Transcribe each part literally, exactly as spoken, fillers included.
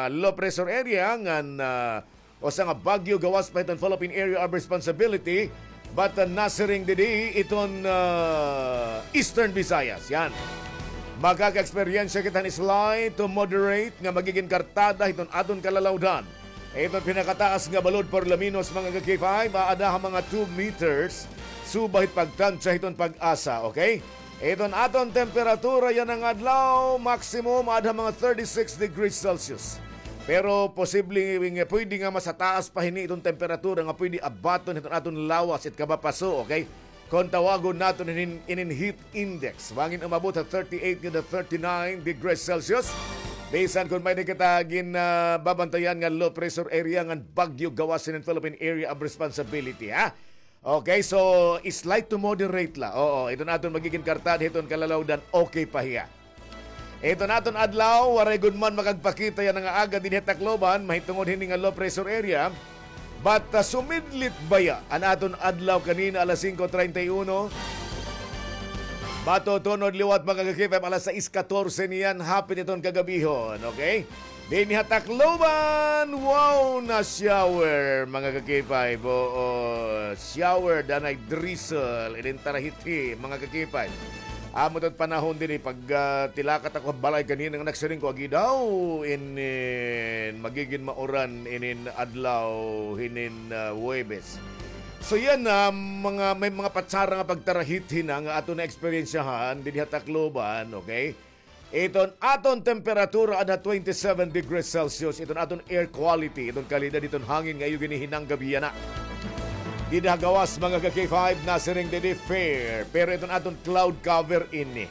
low pressure area ngan, ah, usa nga bagyo gawas pa hiton Philippine Area of Responsibility, but, ah, nasiring didi iton, ah, Eastern Visayas. Yan. Makaka-eksperyensya kita hin slight to moderate nga magigin kartada hiton aton kalalawdan. Iton pinakataas nga balod por lo menos, mga ka-K five, aada ha mga two meters, suba hit pagtansya hiton PAGASA, okay? Iton aton temperatura yana nga adlaw, maximum aada ha mga thirty-six degrees Celsius. Pero posible nga pwede nga mas taas pa hini iton temperatura nga pwede abaton hiton aton lawas it kabapaso, okay? Kon tawagon naton inin, inin heat index, bangin umabot ha thirty-eight ngadto ha thirty-nine degrees Celsius. Bisan kon may-ada kita gin, ah, babantayan nga low pressure area ngan bagyo gawas hinin Philippine Area of Responsibility, ha? Okay, so slight to moderate la. Oo, iton aton magigin kartada hiton kalalawdan, okay pa hiya. Iton aton adlaw, waray gud man makagpakita yana nga aga dinhi ha Tacloban, mahitungod hini nga low pressure area. But, ah, sumidlit baya an aton adlaw kanina alas singko treinta y uno. Matutunod liwat, mga ka-K five, alas sais katorse niyan, hapit iton kagabihon, okay? Dinhi ha Tacloban, wow na shower, mga ka-K five. Oo, shower, danay drizzle, inin tarahithi, mga ka-K five. Amo ito't panahon dinhi, pag, ah, tilakat ako ha balay kanina nga nagsiring ko, agi daw, inin, magigin mauran, inin adlaw, hinin, ah, Huwebes. So yan na, mga, may mga patsara nga pagtarahithi na nga aton naeksperyensyahan dinhi ha Tacloban, okay? Iton aton temperatura ada twenty-seven degrees Celsius, iton aton air quality, iton kalidad iton hangin nga iyo ginihinanggabiana. Dida ha gawas, mga ka-K five, nasiring didi fair, pero iton aton cloud cover ini,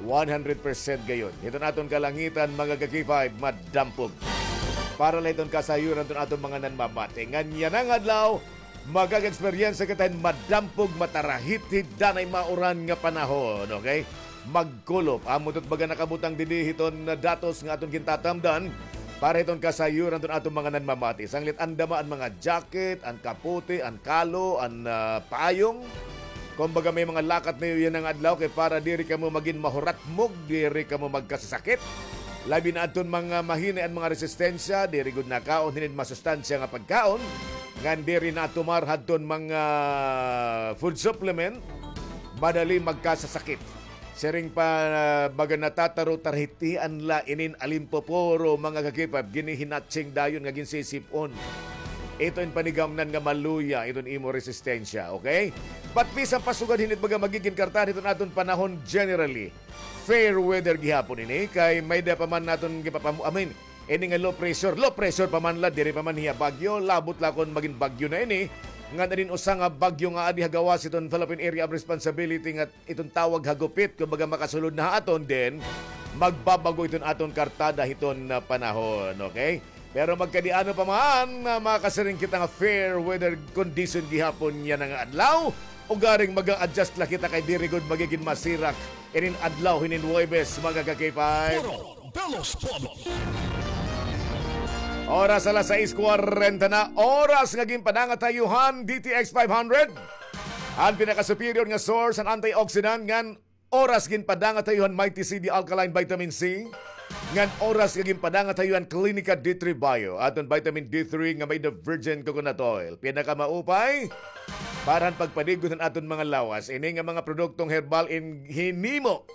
one hundred percent gayon. Iton aton kalangitan, mga ka-K five, madampog. Para la iton kasayuran iton aton mga nanmamati. Ngan yana nga adlaw, makaka-eksperyensya kita hin madampog, matarahithi, danay mauran nga panahon, okay? Magkulop. Amo ito't baga nakabutang didi hiton datos nga aton gintatamdan para hiton kasayuran iton aton mga nanmamati. Sanglit andama an mga jacket, an kapote, an kalo, an, ah, payong. Kumbaga, may mga lakat niyo yana nga adlaw kay para diri kamo magin mahuratmog, diri kamo magkasasakit. Labi na adton mga mahinay an mga resistensya, diri gud nakaon hinin masustansya nga pagkaon. Ngan diri natumar hadton mga food supplement, madali magkasasakit. Siring pa, ah, baga natataro, tarahithian la inin alimpoporo, mga ka-K five, ginhihinatsing dayon nga ginsisip-on. Ito in panigamnan nga maluya iton imo resistensya, okay? But bisan pa sugad hini't baga magigin kartada hiton aton panahon generally. Fair weather gihapon ini, kay may-ada pa man naton gipapamu-, I mean, ini nga low pressure, low pressure pa man la, diri pa man hiya bagyo, labot la kon magin bagyo na ini. Ngan inin usa nga bagyo nga adi ha gawas hiton Philippine Area of Responsibility nga iton tawag ha gupit, kumbaga makasulod na ha aton, then magbabago iton aton kartada hiton, ah, panahon, okay? Pero magkadi-ano pa man, ah, makasiring kita nga fair weather condition gihapon yana nga adlaw. Ugaring mag-a-adjust la kita kay diri gud magigin masirak inin adlaw hinin Huwebes, mga ka-K five. Puro de los Pueblos. Oras alas sais kwarenta na, oras nga ginpadangat ha iyo han D T X five hundred. An pinaka-superior nga source han antioxidant ngan oras ginpadangat ha iyo han Mighty C D Alkaline Vitamin C. Ngan oras nga ginpadangat ha iyo han Clinica D three Bio, aton vitamin D three nga may-ada virgin coconut oil. Pinakamaupay para han pagpadigon han aton mga lawas. Ini nga mga produktong herbal in hinimo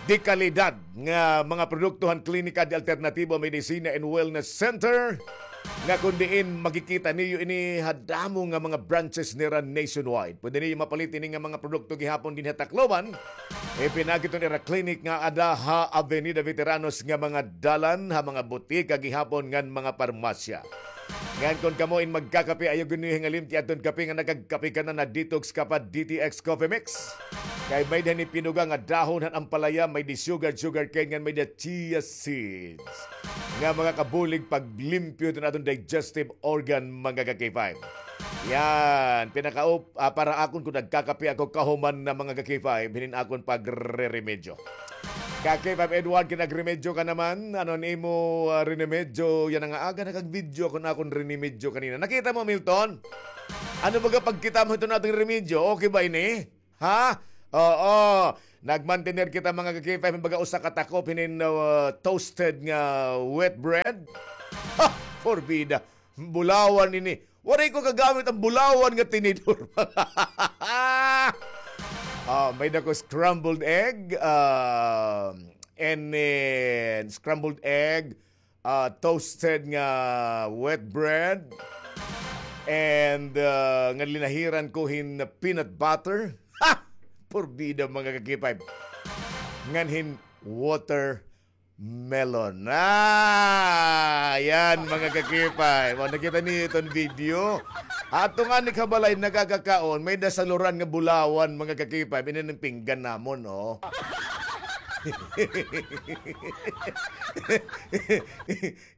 de kalidad nga mga produkto han Klinika de Alternativo Medicina and Wellness Center, nga kon diin makikita niyo ini ha damo nga mga branches nira nationwide. Pwede niyo mapalit ini nga mga produkto gihapon dinhi ha Tacloban. Ipinakit an ira clinic nga ada ha Avenida Veteranos nga mga dalan, ha mga butika gihapon ngan mga parmasya. Ngan kon kamo in magkakape, ayaw gud niyo hingalimti adton kape nga nakagkape ka na, na-detox ka pa, D T X Coffee Mix. Kay may-ada hini pinuga nga dahon han ampalaya, may-ada sugar, sugar cane, ngan may-ada chia seeds nga makakabulig paglimpyo hiton aton digestive organ, mga ka-K five. Yan, pinakaup-, ah, para akon kon nagkakape ako kahuman na, mga ka-K five, hinin akon pagreremedyo. Ka-K five Edward, kinagremedyo ka naman. Ano an imo, ah, rinemedyo yana nga aga? Nakag-video ako na akon rinemedyo kanina. Nakita mo, Milton? Ano baga pagkita mo hiton aton remedyo? Okay ba ini? Ha? Oo. Nagmantener kita, mga ka-K five, hin baga usa ka takop hinin, uh, toasted nga wet bread. Ha! Porbida. Bulawan ini. Waray ko kagamit an bulawan nga tinidor. Ah, may-ada ko scrambled egg, ah, and then scrambled egg, ah, toasted nga wet bread, and, ah, nga linahiran ko hin peanut butter. Ha! Porbida, mga ka-K five. Ngan hin watermelon. Ah, yan, mga ka-K five. O, nakita niyo iton video? Ato ngani ha balay nagkakakaon, may-ada saluran nga bulawan, mga ka-K five. Ini an pinggan namon, o.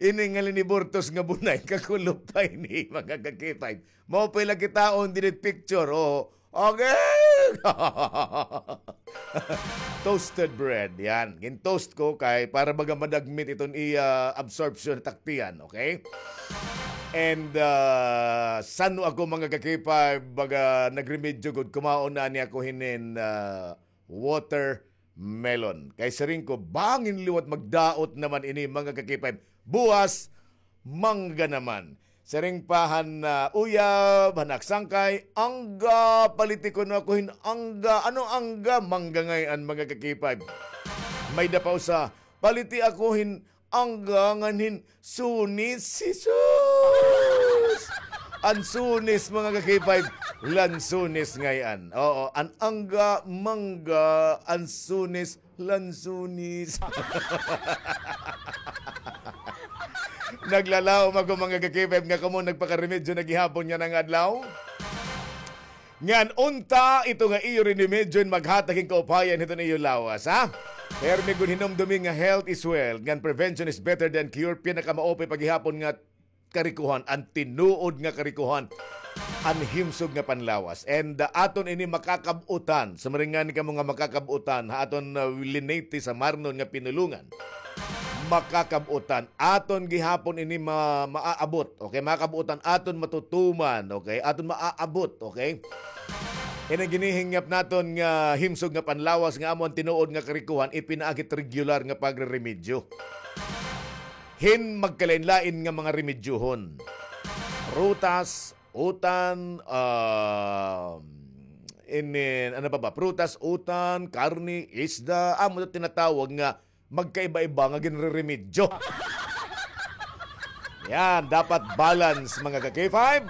Ini nga liniburtos nga bunay, kakulop pa ini, mga ka-K five. Maupay la kitaon didi ha picture, o. Okay. Toasted bread, yan. Gin-toast ko kay para baga madagmit iton iya absorption ha tiyan, okay? And, ah, san-o ako, mga ka-K five, baga nagremedyo gud, kumaon na ani ako hinin, ah, watermelon. Kay siring ko, bangin liwat magdaot naman ini, mga ka-K five. Buwas, mangga naman. Siring pa han, ah, uyab, han aksangkay, angga, paliti kuno ako hin angga. Ano angga? Mangga ngay-an, mga ka-K five. May-ada pa usa, paliti ako hin angga ngan hin sunis. Jesus! An sunis, mga ka-K five, lansunis ngay-an. Oo, an angga, mangga, an sunis, lansunis. Naglalaom ako, mga ka-K five, nga kamo nagpakaremedyo na gihapon yana nga adlaw. Ngan unta ito nga iyo rinimedyo in maghatag hin kaupayan hiton iyo lawas, ha? Permi gud hinumdumi nga health is wealth, ngan prevention is better than cure, pinakamaupay pa gihapon nga karikohan, an tinuod nga karikohan, an himsog nga panlawas. And, uh, aton ini makakab-utan, sumaring ngani kamo nga makakab-utan, ha aton, uh, linate sa marnon nga pinulongan. Makakab-utan. Aton gihapon ini ma-, maaabot. Okay, makakab-utan. Aton matutuman. Okay, aton maaabot. Okay? Ini ginhihingyap naton nga himsog nga panlawas nga amo an tinuod nga karikohan, ipinaagi hit regular nga pagreremedyo. Hin magkalain-lain nga mga remedyohon. Prutas, utan, ah, inin, ano pa ba? Prutas, utan, karne, isda, amo ito tinatawag nga magkaiba-iba nga ginreremedyo. Yan, dapat balance, mga ka-K five.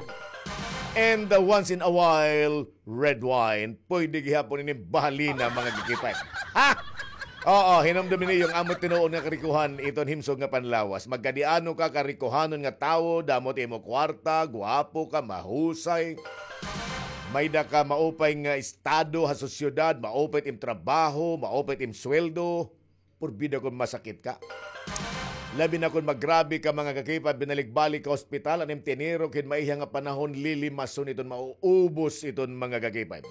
And, uh, once in a while, red wine. Pwede gihapon ini bahalina, mga ka-K five. Ha? Oo, hinumdumi niyo an amo tinuod nga karikohan, iton himsog nga panlawas. Magkadiano ka karikohanon nga tawo, damo it imo kwarta, gwapo ka, mahusay. May-ada ka maupay nga estado ha sosyedad, maupay it im trabaho, maupay it im sweldo. Porbida kon masakit ka. Labi na kon maggrabe ka, mga ka-K five, binalik-balik ka ospital, an im tinirok hin maiha nga panahon, lilimason iton, mauubos iton, mga ka-K five.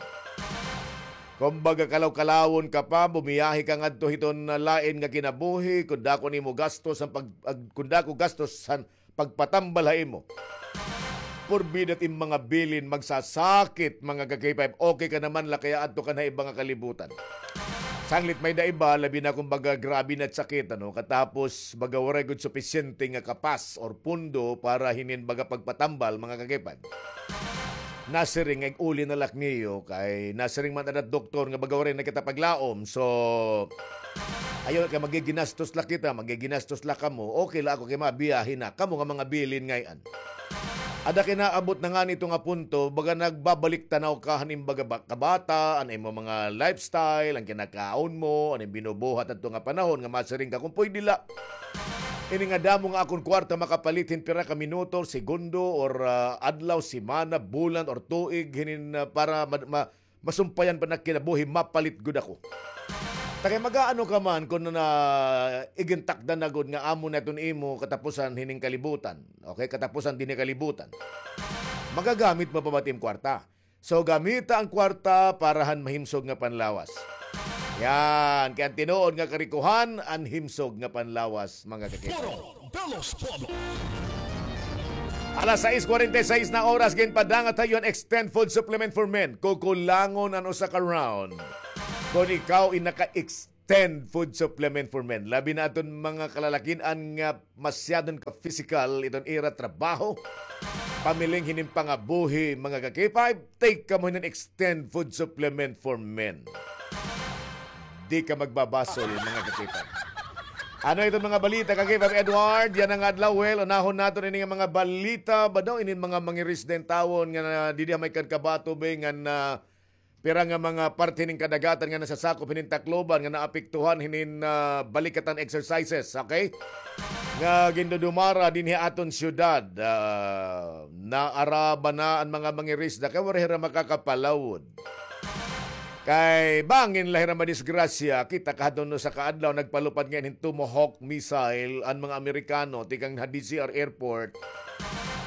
Kumbaga, kalaw-kalawon ka pa, bumiyahe ka ngadto hiton lain nga kinabuhi, kon dako an imo gastos, an pag-, ag-, kon dako gastos, an pagpatambal ha imo. Porbida it im mga bilin magsasakit, mga ka-K five. Okay ka naman la kay aadto ka na ha iba nga kalibutan. Sanglit may-ada iba, labi na kon baga grabe na it sakit, ano, katapos baga waray gud supisyente nga kapas or pondo para hinin baga pagpatambal, mga ka-K five. Nasiring nga ig-uli na la ak niyo kay nasiring man ada it doktor nga baga waray na kita paglaom. So, ayaw na kay magiginastos la kita, magiginastos la kamo. Okay la ako kay mabiyahe na. Kamo nga mga bilin ngay-an. Ada kay naabot na ngani ito nga punto, baga nagbabalik tanaw ka han im baga ba-, kabata, an imo mga lifestyle, an kinakaon mo, an im binubuhat adto nga panahon nga masiring ka kon pwede la. Ini nga damo nga akon kwarta makapalit hin pira ka minuto, segundo, or, ah, adlaw, semana, bulan, or tuig, hinin, ah, para ma-, ma-, masumpayan pa an ak kinabuhi, mapalit gud ako. Ta kay mag-aano ka man kon na igintakdan na gud nga amo na iton imo katapusan hining kalibutan. Okay, katapusan dinhi kalibutan. Magagamit mo pa ba it im kwarta? So, gamita an kwarta para han mahimsog nga panlawas. Yan, kay an tinuod nga karikohan, an himsog nga panlawas, mga ka-K five. Foro de los Pueblos. Alas sais kwarenta y sais na oras, ginpadangat ha iyo an Extend Food Supplement for Men. Kukulangon an usa ka round. kon ikaw in naka-extend food supplement for men. Labi na aton mga kalalakin-an nga masyadon ka physical iton ira trabaho. Pamiling hinin pangabuhi, mga ka-K five, take kamo hinin extend food supplement for men. Di ka magbabasol, mga ka-K five. Ano iton mga balita, ka-K five Edward? Yana nga adlaw, well, unahon naton ini nga mga balita ba daw, inin mga mangirisda intawon nga na, didi ha may kan Kabato Bay nga na, pira nga mga parte nin kadagatan nga nasasakop hinin Tacloban nga naapektuhan hinin, ah, balikatan exercises, okay? Nga gindudumara dinhi ha aton syudad, ah, naaraba na an mga mangirisda kay waray hira makakapalawod. Kay bangin la hira madisgrasya, kita kahadlon usa ka adlaw nagpalupad ngay-an hin Tomahawk missile an mga Amerikano tikang ha D Z R Airport,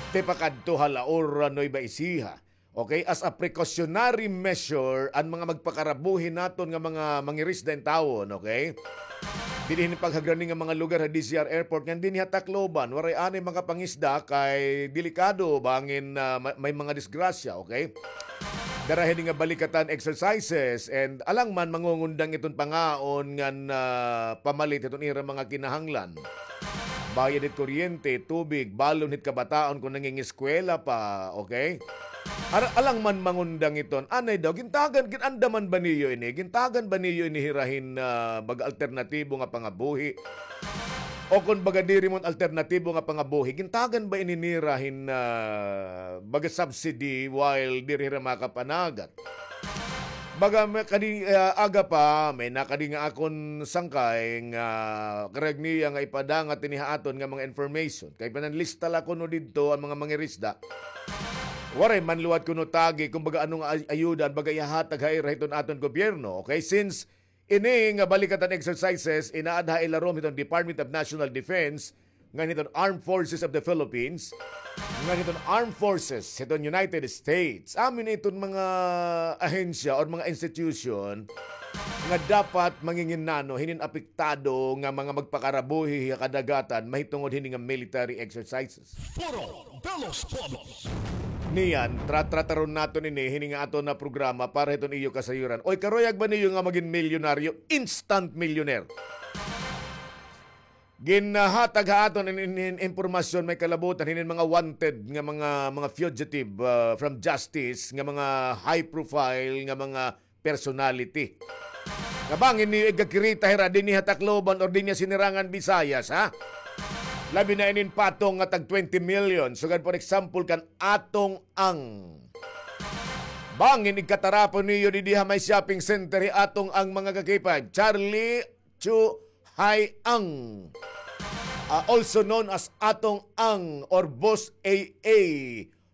tipakadto ha Laura, Nueva Ecija. Okay, as a precautionary measure, an mga magpakarabuhi naton nga mga mangirisda intawon, okay? Dinhi hin paghagrani nga mga lugar ha D Z R Airport ngan dinhi ha Tacloban, waray anay makapangisda kay delikado bangin, ah, ma-, may mga disgrasya, okay? Dara hini nga balikatan exercises and alang man mangungundang iton pangaon ngan, ah, pamalit hiton ira mga kinahanglan. Bayad hit kuryente, tubig, balon hit kabataon kon nangingiskwela pa, okay? Ar-, alang man mangundang iton. Anay daw, gintagan, gin-andaman ba niyo ini? Gintagan ba niyo ini hira hin, ah, baga alternatibo nga pangabuhi? O kon baga diri man alternatibo nga pangabuhi, gintagan ba ini nira hin, ah, baga subsidy while diri hira makapanagat? Baga may kadi, ah, aga pa, may nakadi nga akon sangkay nga karuyag niya nga ipadangat ini ha aton nga mga information. Kay pinanlista la kuno didto an mga mangirisda. Waray man liwat kuno tagi kon baga ano nga ay-, ayuda an baga ihahatag ha ira hiton aton gobyerno. Okay, since ini nga balikatan exercises inaada ha ilarom hiton Department of National Defense, ngan hiton Armed Forces of the Philippines, ngan hiton Armed Forces hiton United States. Amo ini iton mga ahensya or mga institution nga dapat manginginano hinin apektado nga mga magpakarabuhi ha kadagatan mahitungod hini nga military exercises. Foro de los Pueblos. Niyan, tra-, trataron naton ini hini nga aton nga programa para hiton iyo kasayuran. Oy, karuyag ba niyo nga magin milyonaryo, instant millionaire? Ginhatag ha aton in, in, in impormasyon may kalabutan hinin mga wanted nga mga, mga fugitive, ah, from justice nga mga high profile nga mga personality. Nga bangin niyo igakirita hira dinhi ha Tacloban or dinhi ha Sinirangan Visayas, ha? Labi na inin patong nga tag twenty million. Sugad, for example, kan Atong Ang. Bangin igkatarapon niyo didi ha may shopping center hi Atong Ang, mga ka-K five. Charlie Chu Hai Ang. Ah, also known as Atong Ang or Boss A A.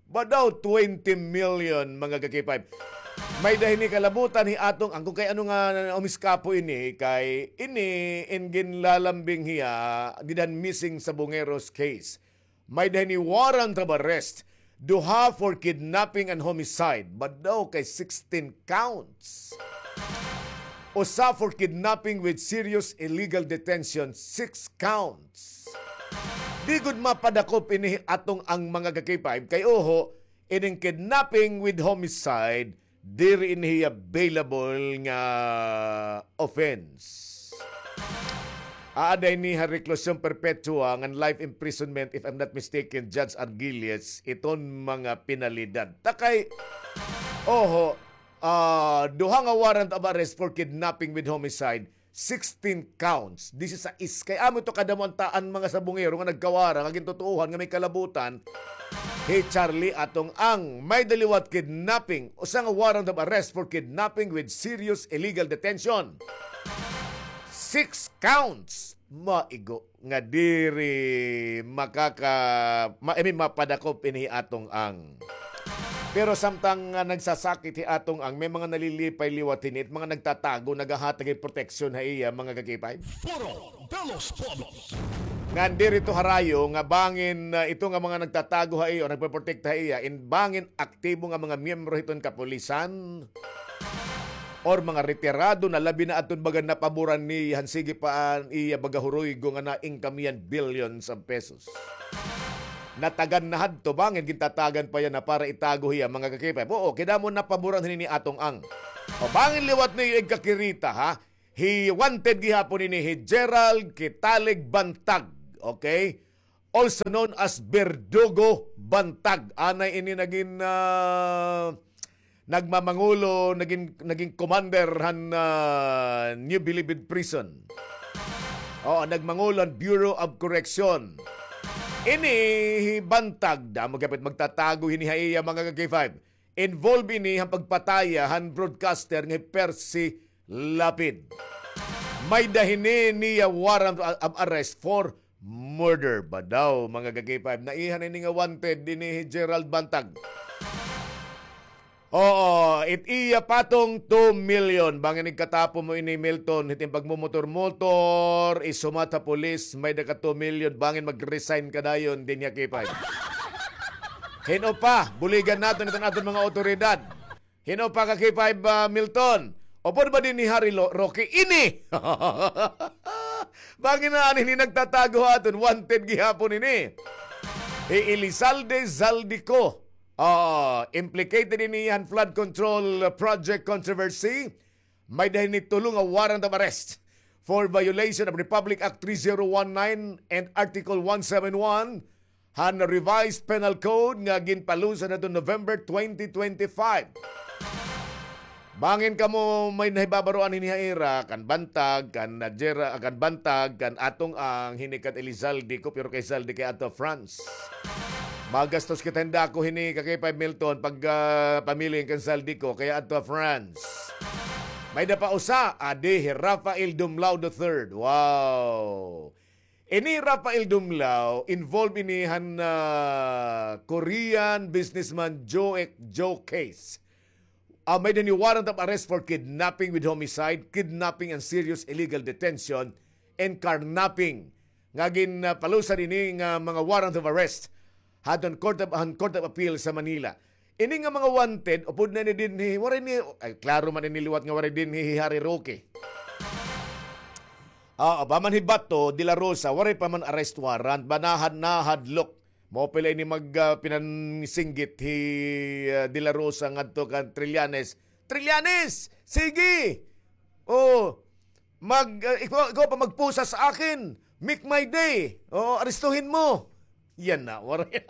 Ba daw twenty million, mga ka-K five. May-ada hini kalabutan hi Atong Ang, kon kay ano nga umiskapo ini, kay ini in ginlalambing hiya dida han missing Sabongeros case. May-ada hini warrant of arrest, duha for kidnapping and homicide, ba daw kay sixteen counts. Usa for kidnapping with serious illegal detention, six counts. Di gud mapadakop ini hi Atong Ang, mga ka-K five, kay uho, ining kidnapping with homicide, diri ini hiya bailable nga offense. Aada ini ha reclusion perpetua ngan life imprisonment, if I'm not mistaken, Judge Argilles, iton mga penalidad. Ta kay, oho, ah, duha nga warrant of arrest for kidnapping with homicide, sixteen counts, disisais. Kay amo ito kadamo an ta-, an mga Sabongero nga nagkawara nga gintutuohan nga may kalabutan hi Charlie Atong Ang. May-ada liwat kidnapping, usa nga warrant of arrest for kidnapping with serious illegal detention. Six counts. Maigo nga diri makaka-, ma-, I mean, mapadakop ini hi Atong Ang. Pero samtang, ah, nagsasakit hi Atong Ang, may mga nalilipay liwat hini, mga nagtatago, naghahatag hin proteksyon ha iya, mga ka-K five. Foro de los Pueblos. Ngan diri ito harayo nga bangin, ah, ito nga mga nagtatago ha iya o nagpoprotekta ha iya, in bangin aktibo nga mga miyembro hiton kapulisan or mga retirado na, labi na adton baga napaboran niya han sige pa an iya baga huruygo nga na-income niyan billions of pesos. Natagan na hadto, bangin gintatagan pa yana para itago hiya, mga ka-K five. Oo, kay damo napaboran hini ni Atong Ang. O, bangin liwat niyo igkakirita, ha? Hi wanted gihapon ini hi Gerald Kitalig Bantag, okay? Also known as Berdugo Bantag. Anay ini nagin, ah, nagmamangulo, nagin, nagin commander han, ah, New Bilibid Prison. Oo, nagmangulo han Bureau of Correction. Ini hi Bantag, damo gihapon magtatago hini ha iya, mga ka-K five. Involved ini han pagpataya han broadcaster nga hi Percy Lapid. May-ada hini niya warrant of arrest for murder ba daw, mga ka-K five. Naiha na ini nga wanted ini hi Gerald Bantag. Oo, it iya patong two million. Bangin igkatapo mo ini, Milton, hit im pagmumotor-motor, isumat ha pulis, may-ada ka two million, bangin mag-resign ka dayon dinhi ha K five. Hin-o pa, buligan naton iton aton mga awtoridad. Hin-o pa ka K five, ah, Milton? Upod ba dinhi hi Harry Lo-, Roque? Ini! Bangin na ani ini nagtatago ha aton, wanted gihapon ini. Hi Elizalde Zaldico. Ah, implicated ini han flood control project controversy. May-ada hini tulo nga warrant of arrest for violation of Republic Act three zero one nine and Article one seven one han Revised Penal Code nga ginpalusad hadto November twenty twenty-five. Bangin kamo may nahibabaroan hini ha ira, kan Bantag, kan Najera, kan Bantag, kan Atong Ang, hini kan Elizalde ko, pero kay Zalde kay adto France. Magastos kita hin dako hini ka K five, Milton, pag, ah, pamili kan Zalde ko, kay adto France. May-ada pa usa, adi, hi Rafael Dumlao the third. Wow! Ini Rafael Dumlao, involved ini han, ah, Korean businessman Joe, Joe case. Ah, may-ada hini warrant of arrest for kidnapping with homicide, kidnapping and serious illegal detention, and carnapping. Nga gin, ah, palusad ini nga mga warrant of arrest hadton Court of, han Court of Appeal sa Manila. Ini nga mga wanted, upod na ini dinhi, waray ni, ay, klaro man ini liwat nga waray dinhi hi Harry Roque. Ah, pa man hi Bato, De La Rosa, waray pa man arrest warrant, ba nahad-, nahadlok. Maupay la ini mag, ah, pinansinggit hi, ah, De La Rosa ngadto kan Trillanes. Trillanes, sige! Oh, mag, ah, ikaw, ikaw pa magpusa sa akin. Make my day. Oh, aristuhin mo. Yana, waray.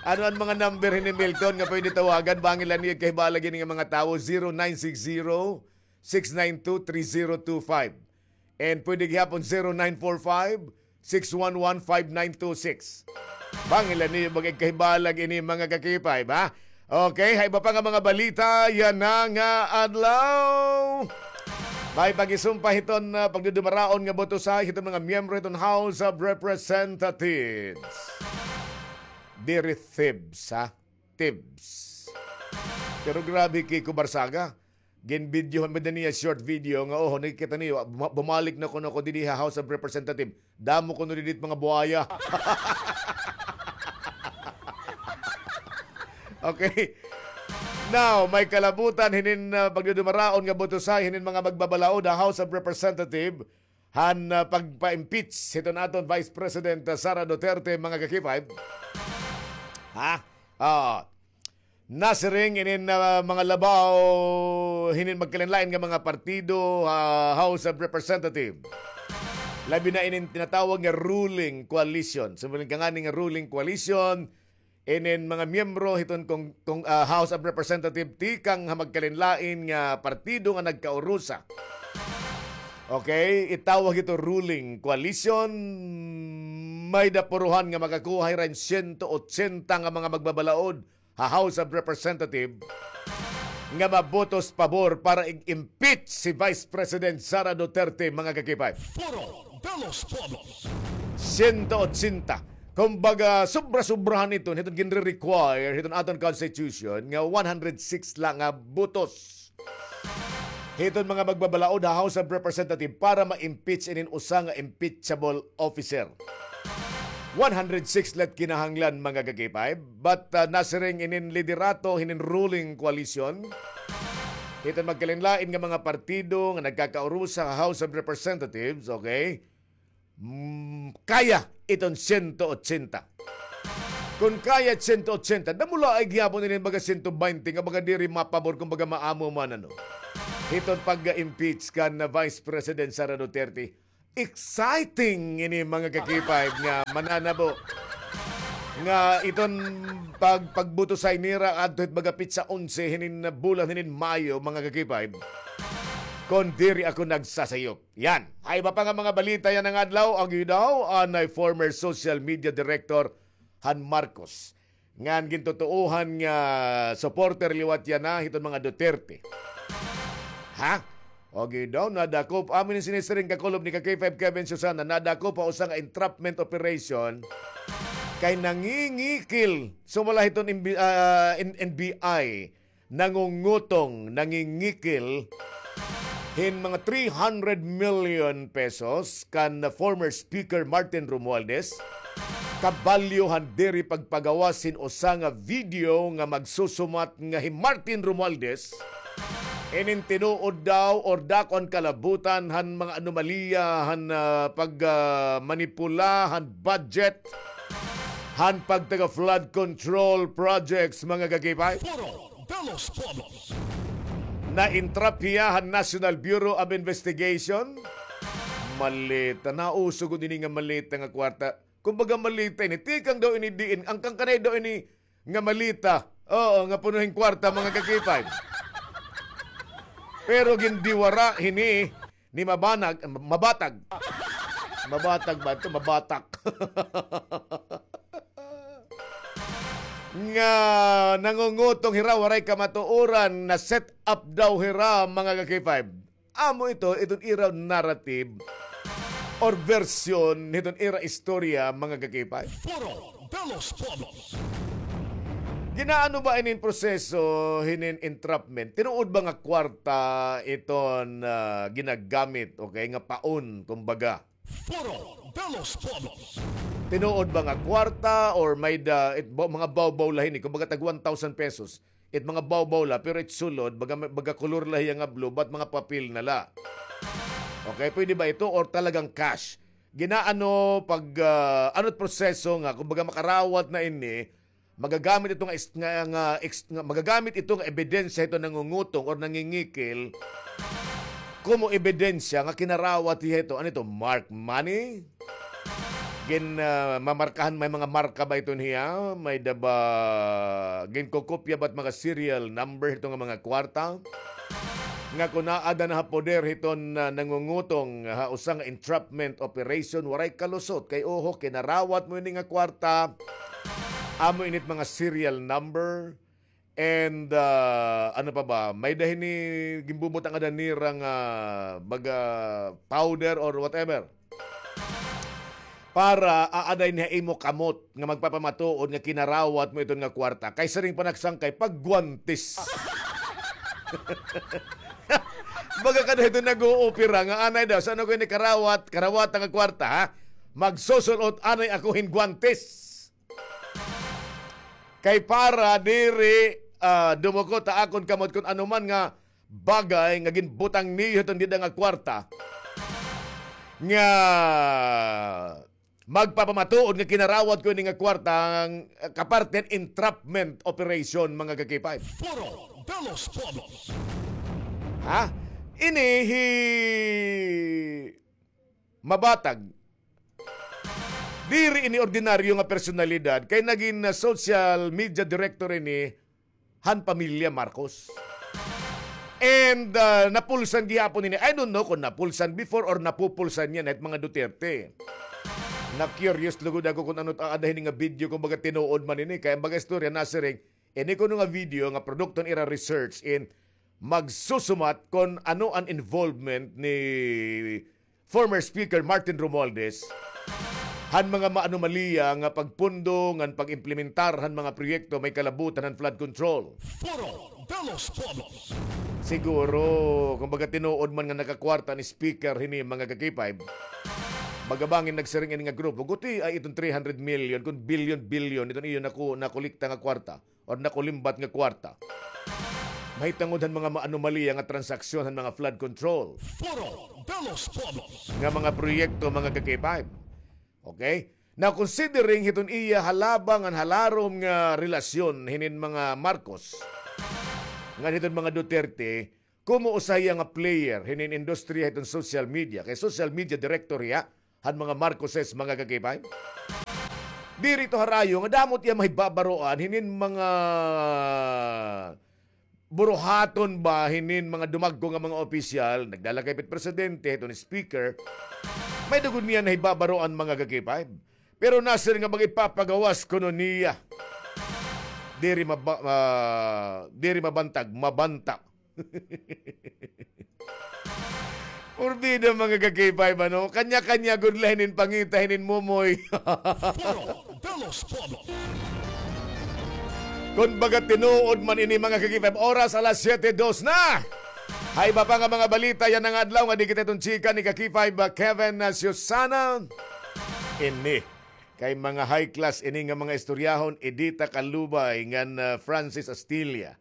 Ano an mga number hini, Milton, nga pwede tawagan? Bangin la niyo igkahibalag ini nga mga tawo, zero nine six zero, six nine two, three zero two five. And pwede gihapon zero nine four five, six one one, five nine two six. Bangin la niyo mag-igkahibalag ini, mga ka-K five, ha? Okay, ha iba pa nga mga balita yana nga adlaw. May pag-isumpa hiton, ah, pagdudumaraon nga botosa hiton mga miyembro hiton House of Representatives. Diri thibs, ha? Thibs. Pero grabe, Kiko Barsaga. Ginbidyohan man niya short video nga, oh, nakikita niyo, buma-, bumalik na kuno ako didi ha House of Representative. Damo kuno didi it mga buaya. Okay. Now, may kalabutan hinin, ah, pagdudumaraon nga botosa hinin mga magbabalaod ha House of Representative han, ah, pagpa-impeach hiton aton Vice President, ah, Sara Duterte, mga ka-K five. Ha? Ah, nasiring inin, ah, mga labaw hinin magkalainlain nga mga partido ha House of Representative. Labi na inin tinatawag nga ruling coalition. Sumulong ka ngani nga ruling coalition, inin mga miyembro hiton kong, kong, ah, House of Representative tikang ha magkalainlain nga partido nga nagkaurusa. Okay, itawag ito ruling coalition. May-ada purohan nga makakuha hira hin siyento otsenta nga mga magbabalaod ha House of Representative nga mabotos pabor para ig-impeach si Vice President Sara Duterte, mga ka-K five. Foro de los Pueblos. Siyento otsenta. Kumbaga, sobra-sobrahan ito, hiton ginre-require hiton aton Constitution nga one hundred six la nga botos hiton mga magbabalaod ha House of Representative para ma-impeach inin usa nga impeachable officer. One hundred six la it kinahanglan, mga ka-K five, but, ah, nasiring inin liderato hinin ruling coalition hiton magkalainlain nga mga partido nga nagkakaurusa ha House of Representatives, okay? Mm, kaya iton siyento otsenta. Kon kaya sento otsenta, damo la ay gihapon ini baga sento baynte nga baga diri mapabor kon baga maamo man ano. Hiton pag-impeach kan Vice President Sara Duterte. Exciting ini mga ka-K five nga mananabo nga iton pag-, pagbutusay nira adto hit baga pitsa onse hinin bulan hinin Mayo, mga ka-K five. Kon diri ako nagsasayop. Yan. Hay iba pa nga mga balita yana nga adlaw, agi daw anay former social media director han Marcos ngan gintutuohan nga supporter liwat yana hiton mga Duterte. Ha? Agi daw, nadakop. Amo ini sinisiring kakulob ni ka-K five Kevin Susana, nadakop ha usa nga entrapment operation kay nangingikil. Sumala hiton N B, ah, N-, N B I, nangungutong, nangingikil hin mga three hundred million pesos kan former Speaker Martin Romualdez, kabalyo han diri pagpagawas hin usa nga video nga magsusumat nga hi Martin Romualdez inin tinuod daw or dako an kalabutan han mga anomalya han, ah, pag, ah, manipula han budget han pagtaga flood control projects, mga ka-K five. Foro de los Pueblos. Na-entrap hiya han National Bureau of Investigation. Maleta, nauso gud ini nga maleta nga kwarta. Kumbaga maleta ini, tikang daw ini diin, an kangkanay daw ini nga maleta. Oo, nga puno hin kwarta, mga ka-K five. Pero gindiwara hini ni Mabanag, Mabatag. Mabatag ba ito? Mabatak. Nga nangungutong hira, waray kamatuoran, na-set up daw hira, mga ka-K five. Amo ito, iton ira narrative or version hiton ira istorya, mga ka-K five. Foro de los Pueblos. Ginaano ba inin proseso hinin entrapment? Tinuod ba nga kwarta iton, ah, ginagamit, okay, nga paon, kumbaga? Foro de los Pueblos. Tinuod ba nga kwarta or may da, it, ba-, mga bawbaw la hini, kumbaga tag one thousand pesos. It mga bawbaw la, pero it sulod, baga, baga kulor la hiya nga blue, but mga papel na la. Okay, pwede ba ito or talagang cash? Ginaano pag, ah, ano't proseso nga, kumbaga makarawat na ini, magagamit ito nga is-, nga, nga ex-, nga, magagamit ito nga ebidensya ito nangungutong or nangingikil, komo ebidensya nga kinarawat hiya ito. Ano ito? Mark money? Gin, ah, mamarkahan, may mga marka ba ito niya? May da ba, ginkokopya ba't mga serial number ito nga mga kwarta? Nga kun aada na ha poder hiton, ah, nangungutong ha usa nga entrapment operation, waray kalusot. Kay oho, kinarawat mo ini nga kwarta. Amo init mga serial number. And, ah, ano pa ba? May da hini ginbubutang ada nira nga baga powder or whatever. Para aaday niya imo kamot nga magpapamatuod nga kinarawat mo iton nga kwarta. Kay siring pa nagsangkay, pagguwantes. Baga kada ito nag-uupira nga anay daw, saan ako ini karawat, karawat nga kwarta, ha? Magsusulot anay ako hin guwantes. Kay para diri, ah, dumukot ha akon kamot kun ano man nga bagay nga ginbutang niyo hiton dida nga kwarta nga magpapamatuod nga kinarawat ko ini nga kwarta nga, ah, kaparte han entrapment operation, mga ka-K five. Foro de los Pueblos. Ha? Ini hi Mabatag. Diri ini ordinaryo nga personalidad, kay nagin, ah, social media director ini han pamilya Marcos. And, ah, napulsan gihapon ini. I don't know kung napulsan before or napupulsan niya na it mga Duterte. Na-curious lugod ako kung ano ta-, ada hini nga video, kung baga tinuod man ini. Kay an baga istorya nasiring, ini kuno nga video nga produkto han ira research in magsusumat kon ano an involvement ni former Speaker Martin Romualdez han mga maanomaliya nga pagpundo ngan pag-implementar han mga proyekto may kalabutan han flood control. Foro de los Pueblos. Siguro, kumbaga, tinuod man nga nakakwarta ni Speaker hini, mga ka-K five. Baga bangin nagsiring ini nga grupo, guti ay iton three hundred million, kun billion-billion, iton iyo naku-, nakolekta nga kwarta or nakulimbat nga kwarta. Mahitungod han mga maanomalya nga transaksyon han mga flood control. Foro de los Pueblos. Nga mga proyekto, mga ka-K five. Okay? Now, considering hiton iya halaba ngan halarom nga relasyon hinin mga Marcos, ngan hiton mga Duterte, komo usa hiya nga player hinin industriya hiton social media. Kay social media director hiya han mga Marcoses, mga ka-K five. Diri ito harayo nga damo it iya mahibabaroan hinin mga buruhaton ba hinin mga dumagko nga mga opisyal, nagdala kay pit presidente, hiton speaker, may-ada gud niya nahibabaroan, mga ka-K five. Pero nasir nga mag-ipapagawas kuno niya. Diri maba-, ah, diri mabantag, mabanta. Porbida, mga ka-K five, ano? Kanya-kanya gud la hinin pangita hinin momoy. Foro de los Pueblos. Kon baga tinuod man ini, mga ka-K five, oras alas siyete dos na. Ha iba pa nga mga balita yana nga adlaw nga di kita iton chika ni ka-K five, ah, Kevin, ah, Susana. Ini kay mga high class ini nga mga istoryahon, Edita Calubay ngan, ah, Francis Astilla.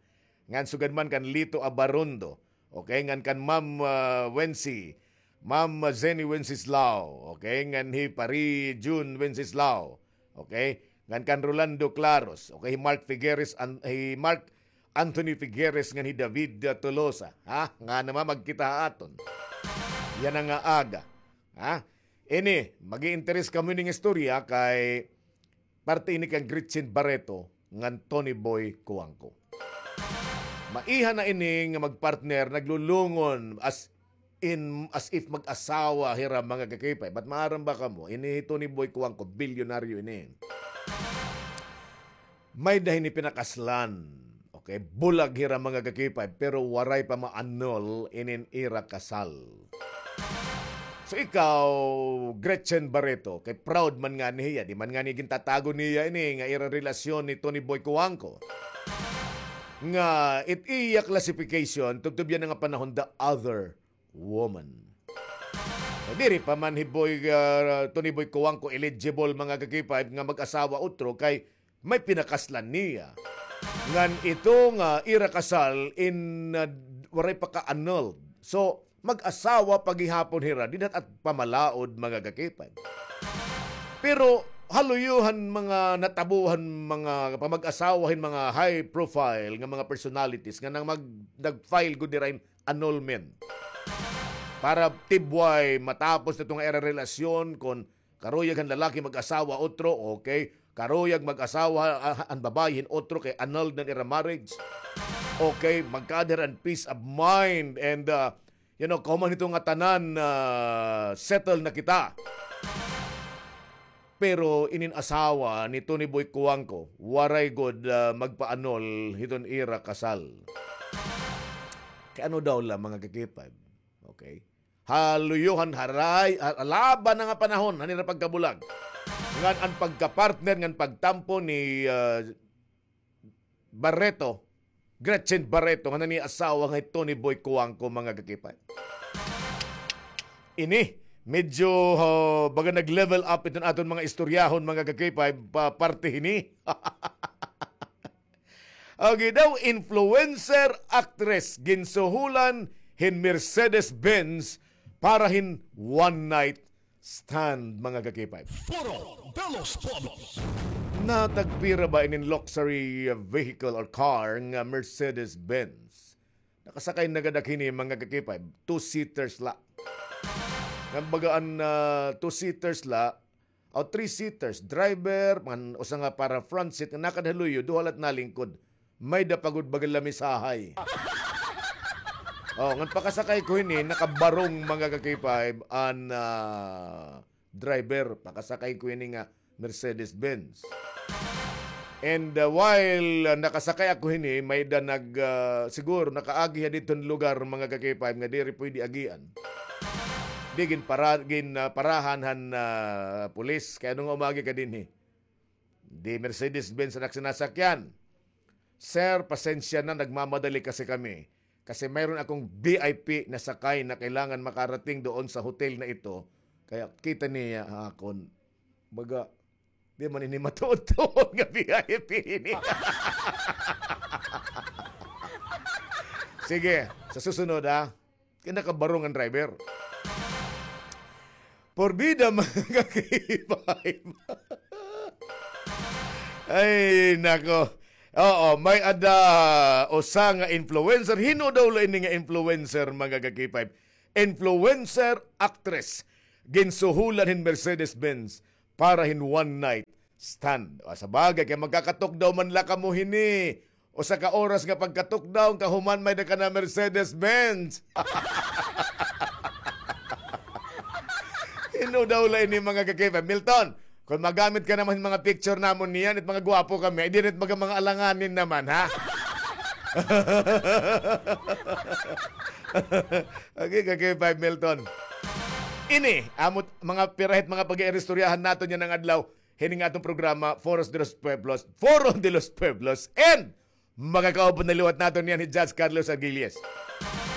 Ngan sugad man kan Lito Abarondo. Okay, ngan kan Ma'am, ah, Wency. Ma'am, ah, Zenny Wenceslao. Okay, ngan hi Pari June Wenceslao. Okay, ngan kan Rolando Claros. Okay, hi Mark Figueres, an-, hi Mark Anthony Figueres, ngan hi David, ah, Tolosa. Ha? Nga naman magkita ha aton. Yana nga aga. Ha? Ini, mag-i-interes kamo hining istorya kay parte ini kan Gretchen Barreto ngan Tony Boy Cuangco. Maiha na ini nga magpartner, naglulungon as in, as if mag-asawa hira, mga ka-K five. But maaram ba kamo, ini hi Tony Boy Cuangco, bilyonaryo ini. May-ada hini pinakaslan. Okay, bulag hira, mga ka-K five, pero waray pa ma-annul inin ira kasal. So ikaw, Gretchen Barreto, kay proud man ngani hiya, di man ngani gintatago niya ini nga ira relasyon ni Tony Boy Cuangco. Nga it iya classification, tubtob yana nga panahon, the other woman. Diri pa man hi Boy, ah, Tony Boy Cuangco eligible, mga ka-K five, nga mag-asawa utro kay may pinakaslan niya. Ngan ito nga ira kasal in, ah, waray pa ka-annulled. So, mag-asawa pa gihapon hira, dida ha pamalaod, mga ka-K five. Pero haluyo han mga natabo han mga pamag-asawa hin mga high profile nga mga personalities nga nang mag-, nag-file gud dira hin annulment. Para tibway matapos na ito nga ira relasyon, kon karuyag han lalaki mag-asawa otro, okay? Karuyag mag-asawa, ah, an babaye hin otro kay annulled na an ira marriage. Okay, magkaada hira hin peace of mind and, ah, you know, kahuman hito nga tanan, ah, settle na kita. Pero inin asawa ni Tony Boy Cuangco, waray gud, ah, magpa-annul hiton ira kasal. Kay ano daw la, mga ka-K five? Okay. Haluyo han haray, ha-, halaba na nga panahon han ira pagkabulag. Ngan an pagkapartner ngan pagtampo ni, ah, Barreto, Gretchen Barreto, nga naniasawa nga hi Tony Boy Cuangco, mga ka-K five. Ini, medyo, ah, baga nag-level up iton aton mga istoryahon, mga ka-K five, pa parte hini. Okay daw, influencer, actress, ginsuhulan hin Mercedes-Benz para hin one night stand, mga ka-K five. Foro de los Pueblos. Natagpira ba inin luxury vehicle or car nga Mercedes-Benz? Nakasakay na gad ak hini, mga ka-K five, two-seaters la. Ngan baga an, ah, two-seaters la, o three-seaters, driver, man, usa nga para front seat, nga nakada ha luyo, duha la it nalingkod. May-ada pa gud baga lamisahay. Oh, ngan pakasakay ko hini, nakabarong, mga ka-K five, an, ah, driver. Pakasakay ko hini nga Mercedes-Benz. And, uh, while, uh, nakasakay ako hini, may-ada nag, uh, siguro nakaagi ha didton lugar, mga ka-K five, nga diri pwede agian. Di ginpara-, gin, uh, parahan han, uh, pulis. Kay ano nga umagi ka dinhi? Di Mercedes-Benz an ak sinasakyan. Sir, pasensya na, nagmamadali kasi kami. Kasi mayroon akong V I P na sakay na kailangan makarating doon sa hotel na ito. Kaya kita niya ha akon. Baga, di man ini matuod-tuod nga V I P ini. Sige, sa susunod, ha. Kay nakabarong an driver. Porbida, mga ka-K five. Ay, nako. Oo, may-ada usa nga influencer. Hin-o daw la ini nga influencer, mga ka-K five? Influencer actress. Ginsuhulan hin Mercedes-Benz para hin one night stand. O, sa bagay, kay magkakatukdaw man la kamo hini. Usa ka oras nga pagkatukdaw, kahuman may-ada ka na Mercedes-Benz. Hin-o daw la ini, mga ka-K five? Milton, kon magamit ka naman mga picture namon niyan, it mga gwapo kami, ay diri it mga, mga alanganin naman, ha? Okay, ka-K five Milton. Ini, amo it mga pira hit mga pag-iiristoryahan naton yana nga adlaw, hini nga aton programa, Foro de los Pueblos, Foro de los Pueblos, and makakaupod na liwat naton niyan hi Judge Carlos Aguilies.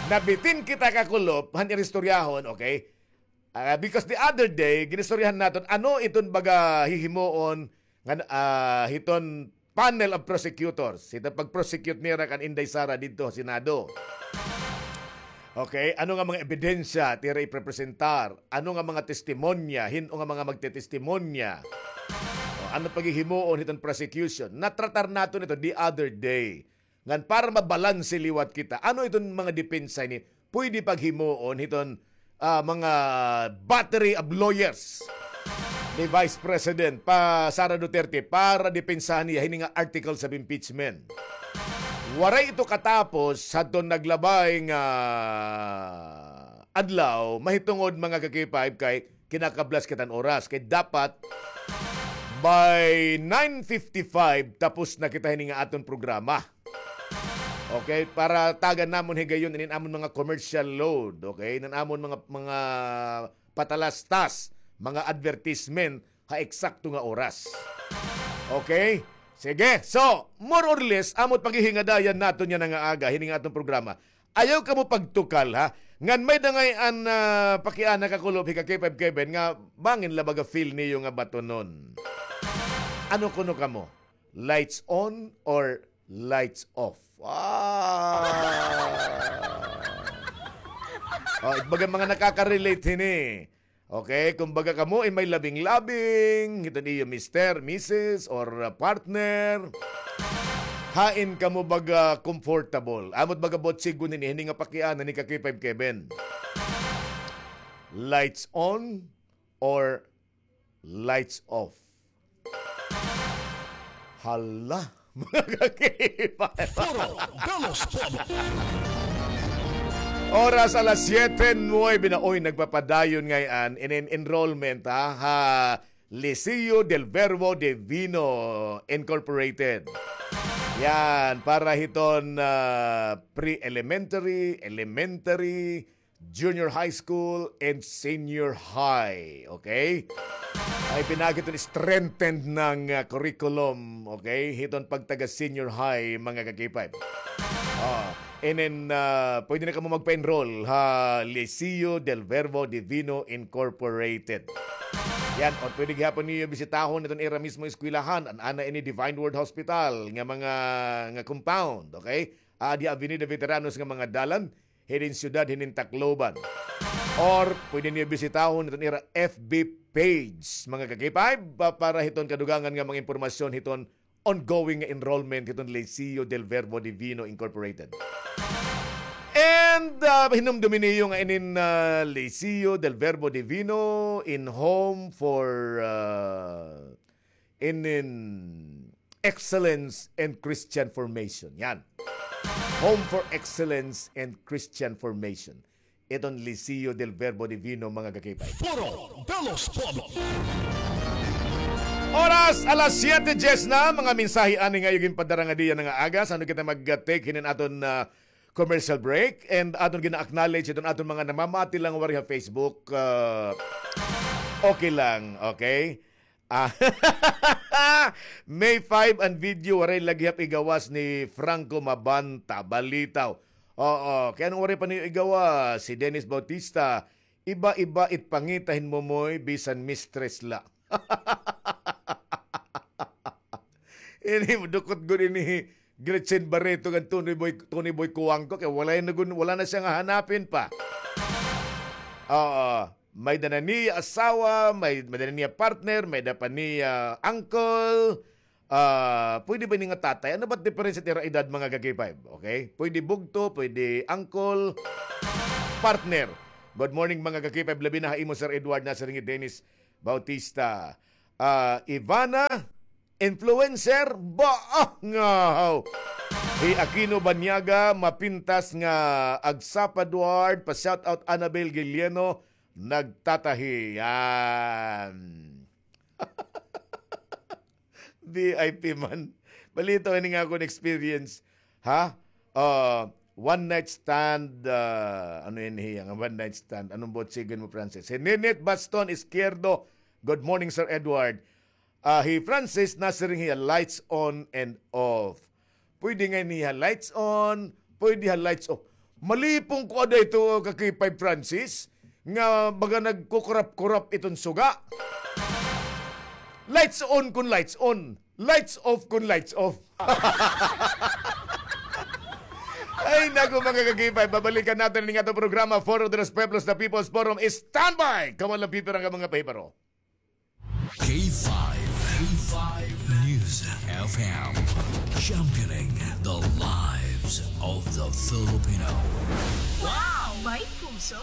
Nabitin kita, kakulop, han iristoryahon, okay? Ah, because the other day, ginistoryahan naton, ano iton baga hihimuon nga, ah, hiton panel of prosecutors, hiton pag-prosecute nira kan Inday Sara didto ha Senado. Okay, ano nga mga ebidensya it ira iprepresentar? Ano nga mga testimonya? Hin-o nga mga magtetestimonya? O, ano paghihimuon hiton prosecution? Natratar naton ito the other day. Ngan para mabalanse liwat kita, ano iton mga depensa ini pwede paghimuon hiton, ah, mga battery of lawyers ni Vice President pa Sara Duterte para depensahan niya hini nga articles of impeachment? Waray ito katapos hadton naglabay nga adlaw, mahitungod, mga ka-K five, kay kinakablas kita hin oras. Kay dapat by nine fifty-five tapos na kita hini nga aton programa. Okay, para tagan namon higayon inin amon mga commercial load, okay? Inin amon mga, mga patalastas, mga advertisement ha eksakto nga oras. Okay? Sige. So, more or less, amo it paghihingadayan naton yana nga aga, hini nga aton programa. Ayaw kamo pagtukal, ha? Ngan may-ada ngay-an, ah, pakiana, kakulop, hi ka-K five Kevin, nga bangin la baga feel niyo nga batonon. Ano kuno kamo? Lights on or lights off? Ah. Oh, baga mga nakaka-relate hini. Okay, kumbaga kamo in may labing-labing, hiton iyo mister, misis, or, uh, partner. Hain kamo baga comfortable? Amo it baga butsiggon hini, hini nga pakiana ni ka-K five Kevin. Lights on or lights off? Hala, mga ka-K five. Foro de los Pueblos. Oras alas siyete nuwebe na. Oy, nagpapadayon ngay-an in, in enrollment, ha, ha Liceo del Verbo Divino Incorporated. Yan, para hiton, ah, pre-elementary, elementary, junior high school, and senior high. Okay? Ay pinaagi iton strengthened nga, ah, curriculum, okay? Hiton pagtaga senior high, mga ka-K five. Ah, and then, ah, pwede na kamo magpa-enroll ha Liceo del Verbo Divino Incorporated. Yan, or pwede gihapon niyo bisitahon iton ira mismo eskwelahan, an ana ini Divine Word Hospital nga mga, nga compound, okay? Adi Avenida Veteranos nga mga dalan, hinin syudad, hinin Tacloban. Or pwede niyo bisitahon iton ira F B page, mga ka-K five, pa-, para hiton kadugangan nga mga impormasyon hiton ongoing nga enrollment hiton Liceo del Verbo Divino Incorporated. And, ah, hinumdumi niyo nga inin, ah, Liceo del Verbo Divino in home for, ah, inin excellence and Christian formation. Yan. Home for excellence and Christian formation. Iton Liceo del Verbo Divino, mga ka-K five. Foro de los Pueblos. Oras, alas siyete dyes na, mga mensahe ani nga iyo ginpadara ngadi yana nga aga, san-o kita mag-take hinin aton, ah, commercial break, and aton gina-acknowledge iton aton mga namamati la waray ha Facebook, ah, okay lang, okay? Ah, May five an video, waray la gihap igawas ni Franco Mabanta, balitaw. Oo, kay ano waray pa niyo igawas? Si Dennis Bautista, iba-iba it pangita hin momoy, bisan mistress la. Ini, dukot gud ini Gretchen Barreto ngan Tony Boy, Tony Boy Cuangco, kay wala na gun-, wala na siya nga hanapin pa. Oo. May-ada na niya asawa, may, may-ada na niya partner, may-ada pa niya uncle. Ah, pwede ba ini nga tatay? Ano ba't diferensya it ira edad, mga ka-K five? Okay? Pwede bugto, pwede uncle, partner. Good morning, mga ka-K five, labi na ha imo, Sir Edward, nasiring hi Dennis Bautista. Ah, Ivana, influencer, ba? Ah, ngahaw. Hi Aquino Banyaga, mapintas nga agsapa, Edward, pa-shout out Annabel Guilieno, nagtatahi. Yan. V I P man. Balitaw ini nga akon experience. Ha? Ah, one night stand, ah, ano ini hiya nga one night stand? Anong botsigan mo, Francis? Hi Ninit Baston Izquierdo. Good morning, Sir Edward. Ah, hi Francis, nasiring hiya, lights on and off. Pwede ngay-an ha lights on, pwede ha lights off. Malipong ko ada ito, ka-K five Francis, nga baga nagkukurap-kurap iton suga. Lights on kun lights on, lights off kun lights off. Ay, naku, mga ka-K five, babalikan natin ini nga programa, Foro de los Pueblos, the People's Forum. Standby! Come on lang, pipirang ka mga pahibaro. K five, K five News F M, championing the lives of the Filipino. Wow! May puso!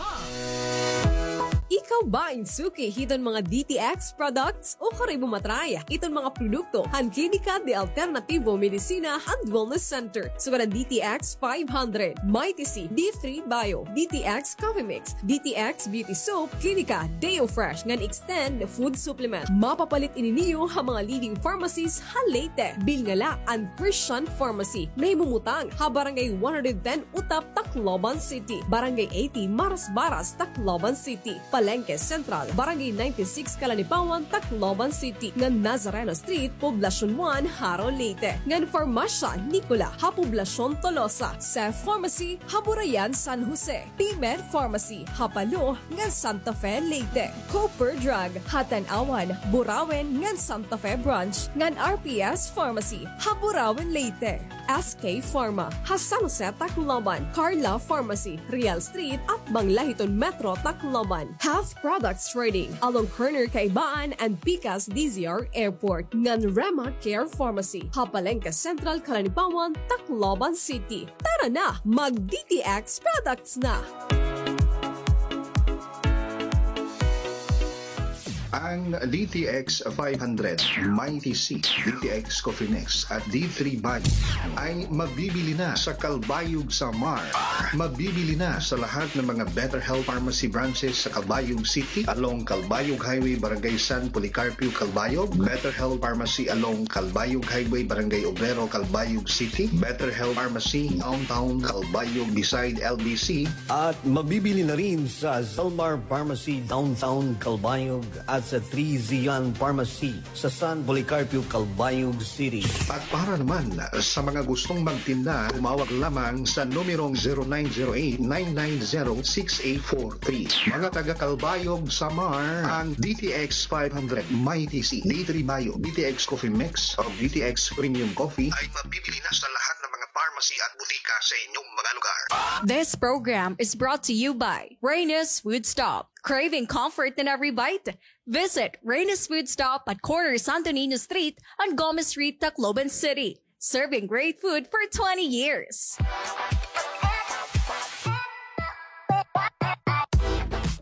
Ikaw ba in suki hiton mga D T X products? O kari mo matry iton mga produkto han Klinika de Alternativo Medicina and Wellness Center, sugad han D T X five hundred, Mighty C, D three Bio, D T X Coffee Mix, D T X Beauty Soap, Klinika, Deo Fresh, ngan Extend Food Supplement. Mapapalit ini niyo ha mga leading pharmacies ha Leyte. Bilngala an Christian Pharmacy, nahimumutang ha Barangay one hundred ten Utap, Tacloban City, Barangay eighty Marasbaras, Tacloban City, Palengke Central, Barangay ninety-six Calanipawan, Tacloban City, ngan Nazareno Street, Poblacion one, Jaro, Leyte, ngan Farmasya Nicola ha Poblacion Tolosa, Seth Pharmacy ha Burayan, San Jose, P-Med Pharmacy ha Palo ngan Santa Fe, Leyte, Cooper Drug ha Tanauan, Burauen ngan Santa Fe Branch, ngan R P S Pharmacy ha Burauen, Leyte. S K Pharma ha San Jose, Tacloban, Carla Pharmacy, Real Street, atbang la hiton Metro Tacloban, Half Products Trading, along corner Kaibaan and Pikas D Z R Airport, ngan Rema Care Pharmacy ha Palengke Central, Calanipawan, Tacloban City. Tara na, mag D T X products na! Ang D T X five hundred, Mighty C, D T X Coffee Mix at D three Bio ay mabibili na sa Calbayog, Samar. Mabibili na sa lahat ng mga Better Health Pharmacy branches sa Calbayog City, along Calbayog Highway, Barangay San Policarpio, Calbayog, Better Health Pharmacy along Calbayog Highway, Barangay Obrero, Calbayog City, Better Health Pharmacy Downtown Calbayog beside L B C, at mabibili na rin sa Zalmar Pharmacy Downtown Calbayog at sa Three Zion Pharmacy sa San Policarpio, Calbayog City. At para naman sa mga gustong magtinda, tumawag lamang sa numerong zero nine zero eight, nine nine zero, six eight four three. Mga taga Calbayog, Samar, ang D T X five hundred, Mighty C, D three Bio, D T X Coffee Mix, o D T X Premium Coffee ay mabibili na sa lahat ng mga pharmacy at butika sa inyong mga lugar. This program is brought to you by Reyna's Food Stop. Craving comfort in every bite? Visit Reyna's Food Stop at corner Santo Niño Street and Gomez Street, Tacloban City. Serving great food for twenty years.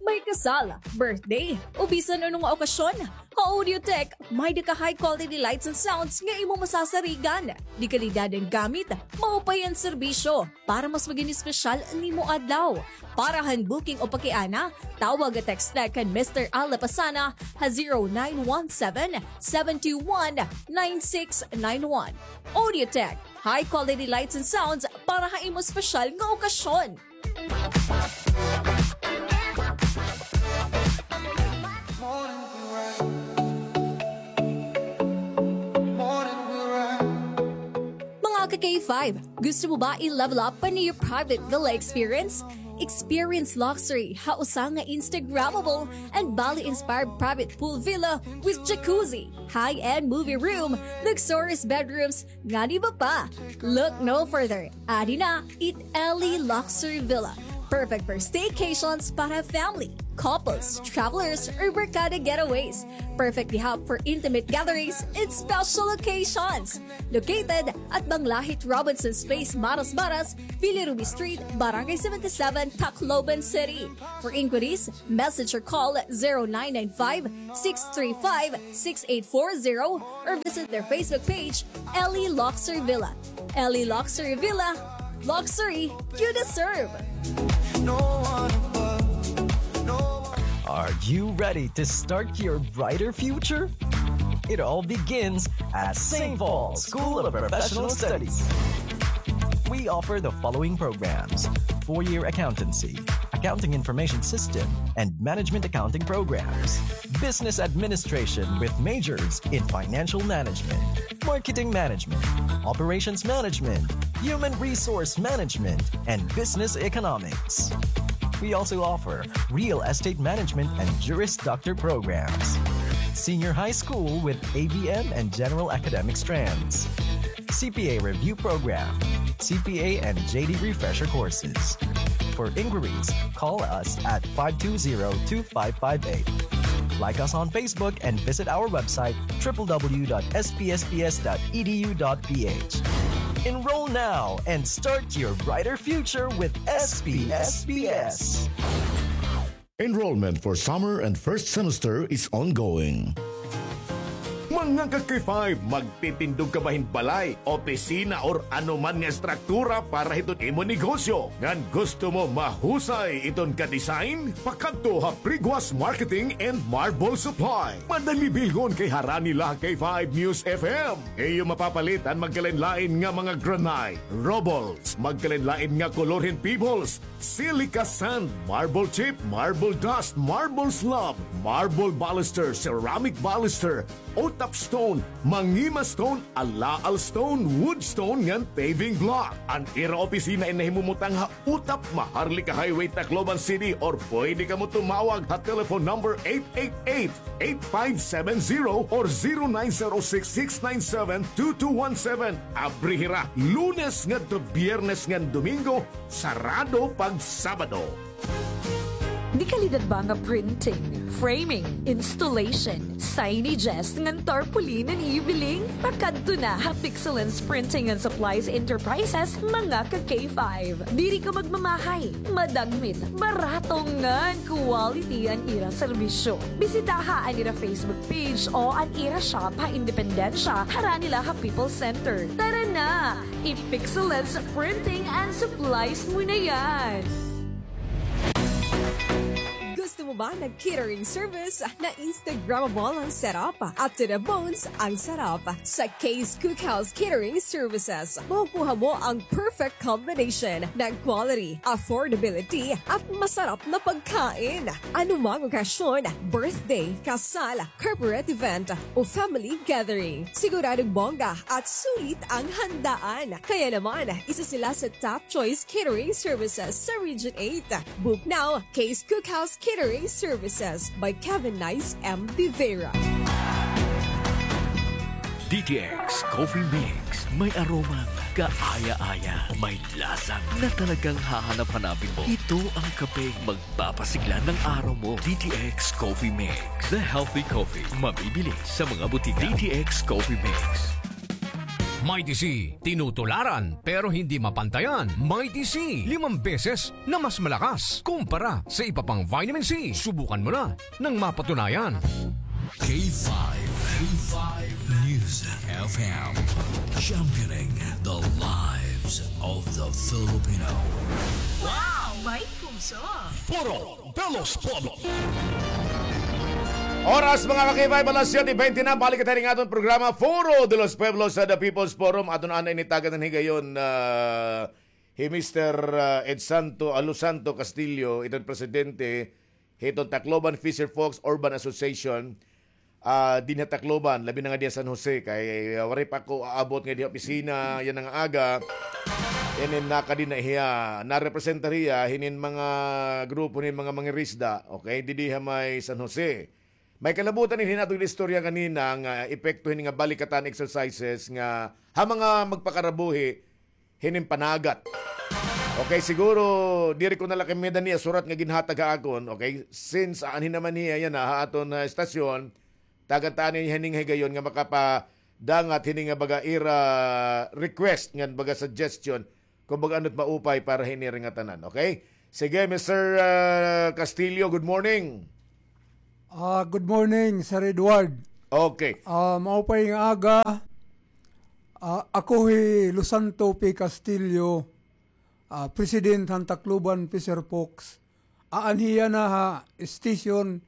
May kasal, birthday, o bisan ano nga okasyon, ha Audiotech, may-ada ka high quality lights and sounds nga imo masasarigan. Dekalidad an gamit, maupay an serbisyo, para mas magin espesyal an imo adlaw. Para han booking o pakiana, tawag o text la kan Mister Al Lapasana ha zero nine one seven, seven two one, nine six nine one. Audiotech, high quality lights and sounds para ha imo espesyal nga okasyon. Mga ka-K five, gusto mo ba i-level up an iyo private villa experience? Experience luxury ha usa nga Instagrammable and Bali-inspired private pool villa with jacuzzi, high-end movie room, luxurious bedrooms, ngan iba pa. Look no further. Adi na it Ellie Luxury Villa. Perfect for staycations para family, couples, travelers, or barkada getaways. Perfectly hap for intimate gatherings and special occasions. Located at Manglahit Robinson's Place, Maras Maras, Bilirubin Street, Barangay seventy-seven, Tacloban City. For inquiries, message or call zero nine nine five, six three five, six eight four zero or visit their Facebook page, Ellie Luxury Villa. Ellie Luxury Villa, luxury you deserve. Are you ready to start your brighter future? It all begins at Saint Paul School of Professional Studies. We offer the following programs: four-year accountancy, accounting information system, and management accounting programs, business administration with majors in financial management, marketing management, operations management, human resource management, and business economics. We also offer real estate management and Juris Doctor programs, senior high school with A B M and general academic strands, C P A review program, C P A and J D refresher courses. For inquiries, call us at five two zero, two five five eight. Like us on Facebook and visit our website, triple W dot S P S P S dot E D U dot P H. Enroll now and start your brighter future with S P S P S. Enrollment for summer and first semester is ongoing. Mga ka-K five, magtitindog ka ba hin balay, opisina, or anuman nga estruktura para hiton imo negosyo? Ngan gusto mo mahusay iton ka-design? Pakadto ha Priguas Marketing and Marble Supply. Madali bilhon kay harani la ha K five News F M. Iyo mapapalit an magkalain-lain nga mga granite, rubbles, magkalain-lain nga kolor hin pebbles, silica sand, marble chip, marble dust, marble slab, marble baluster, ceramic baluster, utap stone, mangima stone, alaal stone, wood stone ngan paving block. An ira opisina in nahimumutang ha Utap, Maharlika Highway, Tacloban City, or pwede kamo tumawag ha telephone number eight eight eight, eight five seven zero or zero nine zero six, six nine seven, two two one seven. Abri hira Lunes ngadto Biyernes ngan Domingo, sarado pag Sabado. Di kalidad ba nga printing, framing, installation, signages ngan tarpaulin an ibiling? Pakadto na ha Pixelens Printing and Supplies Enterprises, mga ka-K five. Diri ka magmamahay, madagmit, barato ngan quality an ira serbisyo. Bisitaha an ira Facebook page o an ira shop ha Independencia, harani la ha People's Center. Tara na! I-Pixelens Printing and Supplies mo na yan! Gusto mo ba ng catering service na Instagrammable ang setup at to the bones ang sarap? Sa Kay's Cookhouse Catering Services, makukuha mo ang perfect combination ng quality, affordability at masarap na pagkain. Anumang okasyon, birthday, kasal, corporate event o family gathering, siguradong bongga at sulit ang handaan. Kaya naman, isa sila sa top choice catering services sa Region eight. Book now, Kay's Cookhouse Catering Services by Kevin Nice M. De Vera. D T X Coffee Mix. May aromang kaaya-aya. May lasa na talagang hahanap-hanapin mo. Ito ang kapeng magpapasigla ng araw mo. D T X Coffee Mix. The healthy coffee. Mabibili sa mga butika. D T X Coffee Mix. Mighty C, tinutularan pero hindi mapantayan. Mighty C, limang beses na mas malakas kumpara sa iba pang vitamin C. Subukan mo na nang mapatunayan. K five, K five News F M, championing the lives of the Filipino. Wow! May puso! Foro de los Pueblos. Oras, mga ka-K five, alas siyete bente na. Balik kita rin aton programa, Foro de los Pueblos, sa The People's Forum. Aton anay ni tagan ng higayon, ah, hi Mister, ah, Ed Santo, Alo Santo Castillo, iton presidente hiton Tacloban Fisher Folks Urban Association, ah, dinhi ha Tacloban, labi na nga dinhi ha San Jose, kay, ah, waray pa ako aabot nga dinhi ha opisina yana nga aga. Inin nakadi na hiya, narepresentar hiya hinin mga grupo hinin mga mangirisda, okay, didi ha may San Jose. May kalabutan hinin aton istorya ganina nga epekto hinin nga balikatan exercises nga ha mga magpakarabuhi hinin panagat. Okay, siguro, diri ko na la kay may-ada niya surat nga ginhatag ha akon. Okay, since aanhi naman hiya yana ha aton, ah, estasyon, tagan ta anay hining higayon nga makapadangat hini nga baga ira request ngan baga suggestion kung baga ano it maupay para hini nga tanan. Okay? Sige, Mister, ah, Castillo, good morning. Ah, good morning, Sir Edward. Okay. Ah, maupay nga aga. Ah, ako hi Lusanto P. Castillo, ah, president han Tacloban Fisher Folks. Aanhi yana ha station,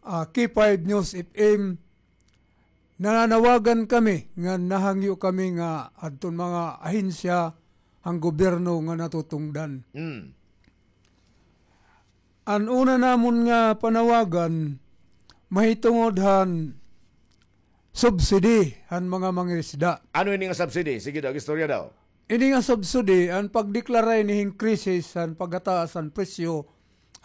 ah, K five News F M. Nananawagan kami nga nahangyo kami nga adton mga ahensya han gobyerno nga natutungdan. Mm. An una namon nga panawagan, mahitungod han subsidy han mga mangirisda. Ano ini nga subsidy? Sige daw, istorya daw. Ini nga subsidy, an pagdeklara ini hin krisis han pagkataas han presyo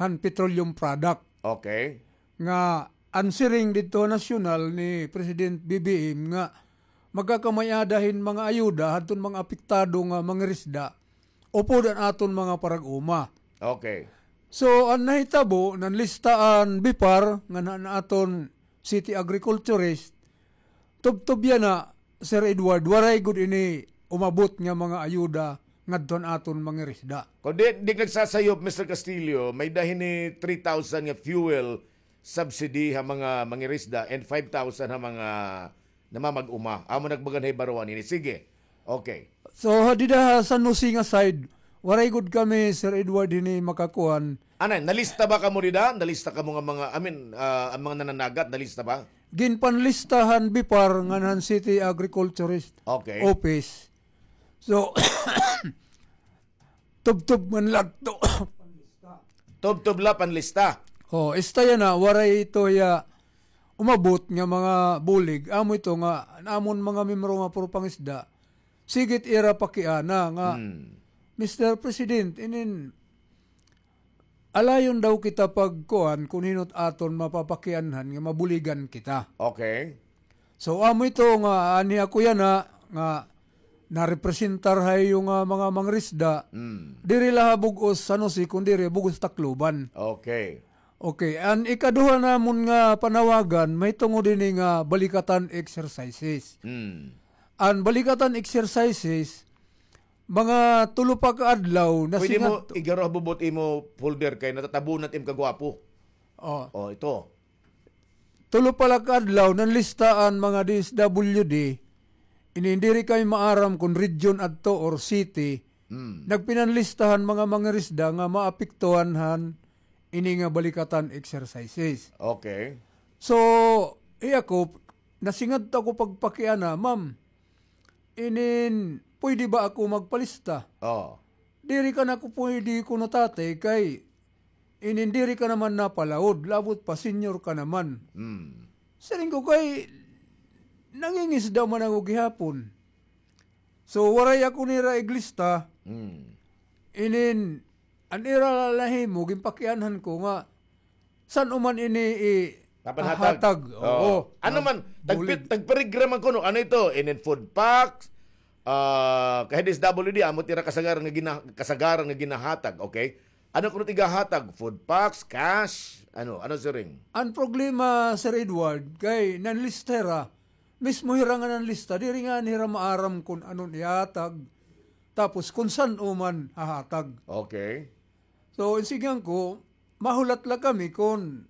han petroleum product. Okay. Nga an siring didto nasyonal ni President B B M nga magkakamay-ada hin mga ayuda hadton mga apektado nga mangirisda upod an aton mga parag-uma. Okay. So, an nahitabo, nanlista an BIPAR ngan an aton city agriculturist, tubtob yana, Sir Edward, waray gud ini umabot nga mga ayuda ngadto han aton mangirisda. Kon di, di nagsasayop, Mister Castillo, may-ada hini three thousand nga fuel subsidy ha mga mangirisda and five thousand ha mga namamag-uma. Amo nagbagan ha ibaruan ini. Sige. Okay. So, ha dida ha San Jose nga side, waray gud kami, Sir Edward, hini makakuan. Anay, nalista ba kamo dida? Nalista kamo nga mga, I mean, ah, an mga nananagat, nalista ba? Ginpanlista han BIPAR ngan han City Agriculturist Okay. Office. So, tubtob man la adto. Tubtob la panlista. Oh, esta yana, waray ito hiya umabot nga mga bulig. Amo ito nga, an amon mga miyembro nga puro pangisda, sige it ira pakiana nga, Hmm. Mister President, inin, alayon daw kita pagkuan kon hin-o it aton mapapakianhan nga mabuligan kita. Okay. So, amo ito nga, aanhi ako yana, nga narepresentar ha iyo nga mga mangirisda, Mm. diri la ha bug-os San Jose, kundi diri bug-os Tacloban. Okay. Okay, an ikaduha namon nga panawagan, mahitungod ini nga balikatan exercises. Mm. An balikatan exercises, mga tulo pa ka adlaw, Pwede mo nasingadto. Igaro ha bubot imo folder kay natatabo na it im kagwapo. Oh. Oh, ito. Tulo pa la ka adlaw, nanlista an mga D S W D, inin diri kami maaram kon region adto or city, Hmm. nagpinanlista han mga mangirisda nga maapektuhan han ini nga balikatan exercises. Okay. So, iya ko, nasingadto ako pagpakiana, "Ma'am, inin, pwede ba ako magpalista?" Oh. "Diri ka na ko pwede kuno, tatay, kay inin diri ka naman napalaod, labot pa senior ka naman." Hmm. Siring ko kay nangingisda man ako gihapon. So, waray ako nira iglista. Hmm. Inin, an ira la nahimo, ginpakianhan ko nga, san-o man ini i-, Papanhatag. hatag. Oo. Oo. Ano man, tagpi-, Bulig. Tagparigra man kuno, ano ito? Inin food packs, ah, kay D S W D, amo it ira kasagaran nga gina-, kasagaran nga ginahatag, okay? Ano kuno it igahatag? Food packs, cash? Ano? Ano, siring? An problema, Sir Edward, kay nanlista hira. Mismo hira nga nanlista, diri ngani hira maaram kon ano an ihatag. Tapos kon san-o man hahatag. Okay. So, insigihan ko, mahulat la kami kon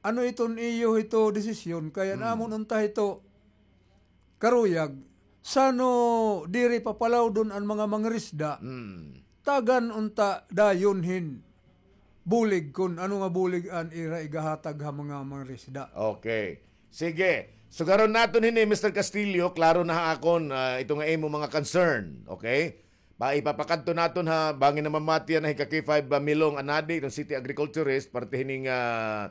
ano iton iyo hito desisyon, kay an Hmm. amon unta hito karuyag, san-o diri papalaodon an mga mangirisda, Hmm. tagan unta dayon hin bulig kon ano nga bulig an ira igahatag ha mga mangirisda. Okay. Sige. Sugaron naton hini, Mister Castillo, klaro na ha akon, ah, ito nga imo mga concern. Okay? Pa, ipapakadto naton ha, bangin namamati yana hi ka K five, ah, Milong Anadi, iton city agriculturist, parte hini nga, ah,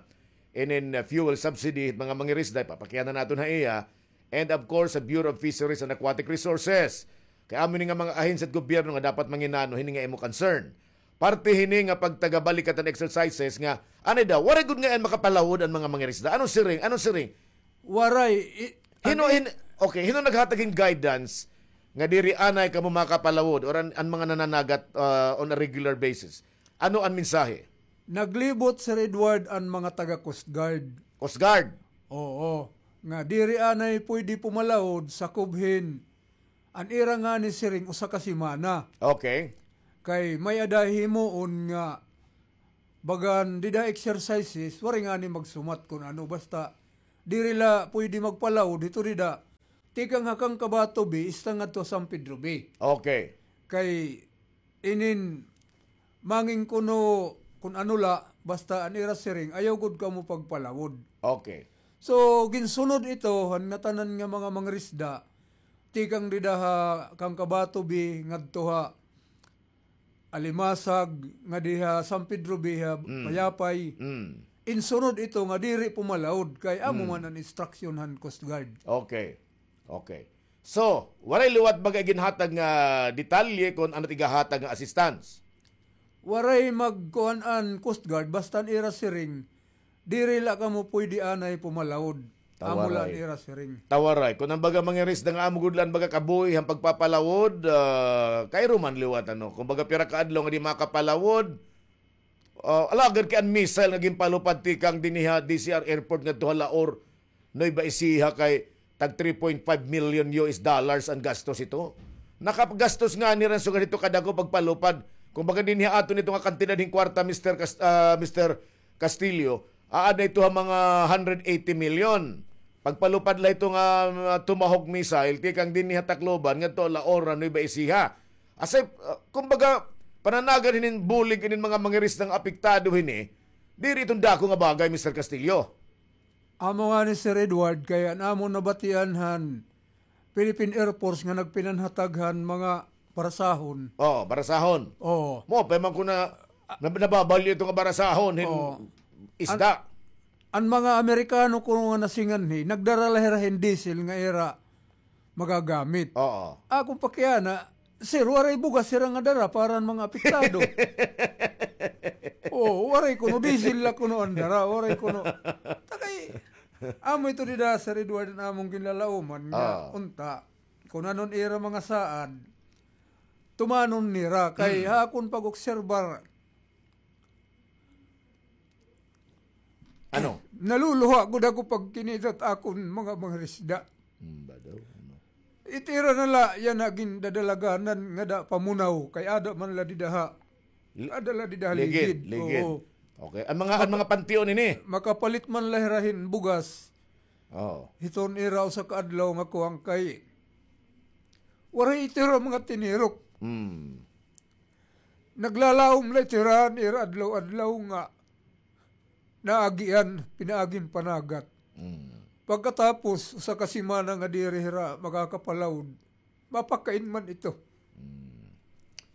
inin, ah, fuel subsidy, mga mangirisda, ipapakiana naton ha iya. And of course, sa Bureau of Fisheries and Aquatic Resources. Kay amo ini nga mga ahensya hit gobyerno nga dapat manginano hini nga imo concern. Parte hini nga pagtagabalikatan exercises nga, anay daw, waray gud ngay-an makapalaod an mga mangirisda. Ano siring? Ano siring? Waray. I-, Hino, ano hin-, okay, hino naghatag hin guidance nga diri anay kamo makapalawod or an, an mga nananagat, ah, on a regular basis? Ano an mensahe? Naglibot, Sir Edward, an mga taga Coast Guard. Coast Guard? Oo. Nga diri anay pwede pumalawod, sakob hin an ira ngani siring usa ka semana. Okay. Kay may-ada himuon nga bagan dida exercises, waray ngani magsumat kun ano, basta diri la pwede magpalawod hito dida. Tikang ha Kangkabatubi, ista ngadto ha San Pedro Bay. Okay. Kay inin mangin kuno kun ano la, basta an ira siring, ayaw gud kamo pagpalawod. Okay. So, ginsunod ito han ngatanan nga mga mangirisda, tikang dida ha Kangkabatubi ngadto ha Alimasag, nga diha San Pedro Bay, ha Mm. Payapay. Mm. Insunod ito nga diri pumalawod kay amo Mm. man an instruction han Coast Guard. Okay. Okay. So, waray liwat baga ginhatag nga detalye kon ano it igahatag nga assistance? Waray magkuan an Coast Guard, basta an ira siring, diri la kamo pwede anay pumalawod. Amo la an Tawaray. ira siring. Tawaray. Kon an baga mangirisda nga amo gud la an baga kabuhi han pagpapalawod, ah, kairo man liwat, ano. Kon baga pira ka adlaw nga di makapalawod, ah, alagad kay an missile nga ginpalupad tikang dinhi ha D C R Airport ngadto ha Laor, Nueva Ecija kay tag three point five million U S dollars an gastos ito. Nakagastos ngani hira hin sugad hito kadako pagpalupad. Kon baga dinhi ha aton ito nga kantidad hin kwarta, Mister Cas-, ah, Mister Castillo, aada ito ha mga hundred eighty million. Pagpalupad la ito nga, ah, Tomahawk missile, tikang dinhi ha Tacloban, ngadto ha Laor, Nueva Ecija. Asay, ah, kumbaga, pananagan hinin bulig hinin mga mangirisda nga apektado hini, diri iton dako nga bagay, Mister Castillo. Amo ngani, Sir Edward, kay an amon nabatian han Philippine Air Force nga nagpinanhatag han mga barasahon. Oh, barasahon. Oo. Maupay man kuno na, nababalyo ito nga barasahon hin Oo. isda. An, an mga Amerikano kuno nga nasinganhi, nagdara la hira hin diesel nga ira magagamit. Oo. Akon pakiana, sir, waray bugas hira nga dara para han mga apektado. Oo, waray kuno, diesel la kuno an dara, waray kuno. Takay, amo ito dida, Sir Edward, an amon ginlalauman nga Oo. unta. Kun ano an ira mga saad, tumanon nira. Kay Hmm. ha akon pag-obserbar, Ano? Naluluha gud ako pagkinitat akon mga mangirisda. Hmm, ba daw? Ano? It ira na la yana gindadalaganan ngada pamunaw, kay ada man la dida ha. Li-, ada la dida ha ligid, ligid. Ligid. Oo. Okay. An mga, an Maka-, mga pantion ini? Makapalit man la hira hin bugas. Oo. Hiton ira usa ka adlaw nga kuan kay waray it ira mga tinirok. Hmm. Naglalaom la it ira han ira adlaw-adlaw nga naagian, pinaagin panagat. Mm. Pagkatapos, usa ka semana nga diri hira makakapalawod, mapakain man ito. Mm.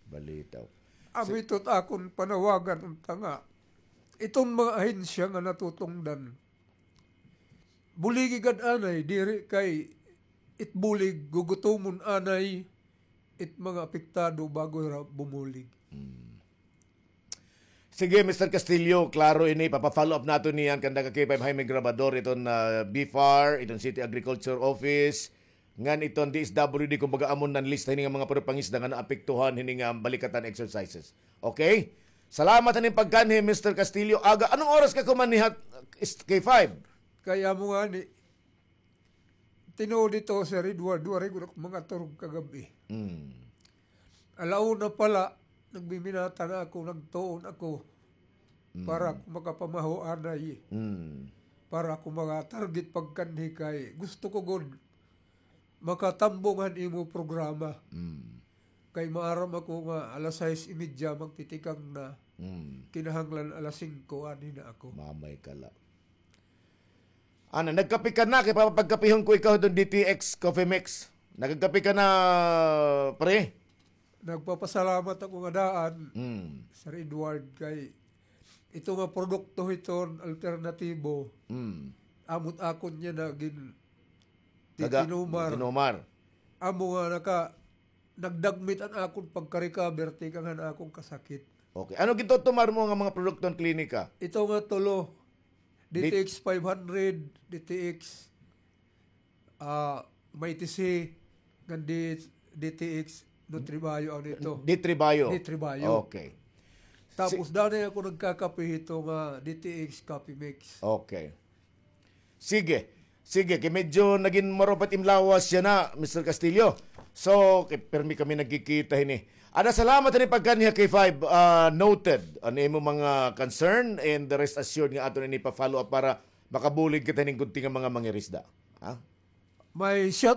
Balitaw. Amo ito it akon panawagan unta nga iton mga ahensya nga natutungdan, buligi gad anay, diri kay it bulig gugutomon anay it mga apektado bago hira bumulig. Hmm. Sige, Mister Castillo, klaro ini, papa-follow up naton niyan kanda ka K five Jaime Grabador iton, ah, BFAR, iton City Agriculture Office, ngan iton D S W D, kumbaga, amon nan lista hini nga mga puro pangisda nga naapektuhan hini nga balikatan exercises. Okay? Salamat han im pagkanhi, Mister Castillo. Aga, anong oras ka kumanhi ha K five? Kay amo ngani, tinuod ito, Sir Edward, waray gud ako mangaturog kagab-i. Mm. Ala una pa la, nagbiminata na ako, nagtuon ako, para Mm. ako makapamaho anay. Mm. Para ako maka-target pagkanhi kay gusto ko gud makatambong han imo programa. Mm. Kay maaram ako nga alas sais y media magtitikang na. Mm. Kinahanglan alas singko, anhi na ako. Mamay ka la. Ana, nagkape ka na, kay papagkapihon ko ikaw hiton D T X Coffee Mix. Nagkape ka na, pre? Nagpapasalamat ako nga daan, Mm. Sir Edward, kay ito nga produkto hiton alternatibo, Mm. amo it akon yana gin Taga-, titinumar. Tinumar. Amo nga naka-, nagdagmit an akon pagka-recover tikang han akon kasakit. Okay. Ano gintutumar mo nga mga produkto han klinika? Ito nga tulo, Dit- D T X five hundred, D T X, ah, Mighty C, ngan D-, D T X Nutribayo ang dito. Nutribayo. Nutribayo. Okay. Tapos dati ako nagkakape hito nga D T X Coffee Mix. Okay. Sige. Sige, kay medyo nagin marupat im lawas yana, Mister Castillo. So, kay permi kami nagkikita hini. Ada, salamat hini pagkanhi ha K five, ah, noted. Ano imo mga concern and the rest assured nga aton ini pa-follow up para makabulig kita hining gunting nga mga mangirisda. Ha? May shout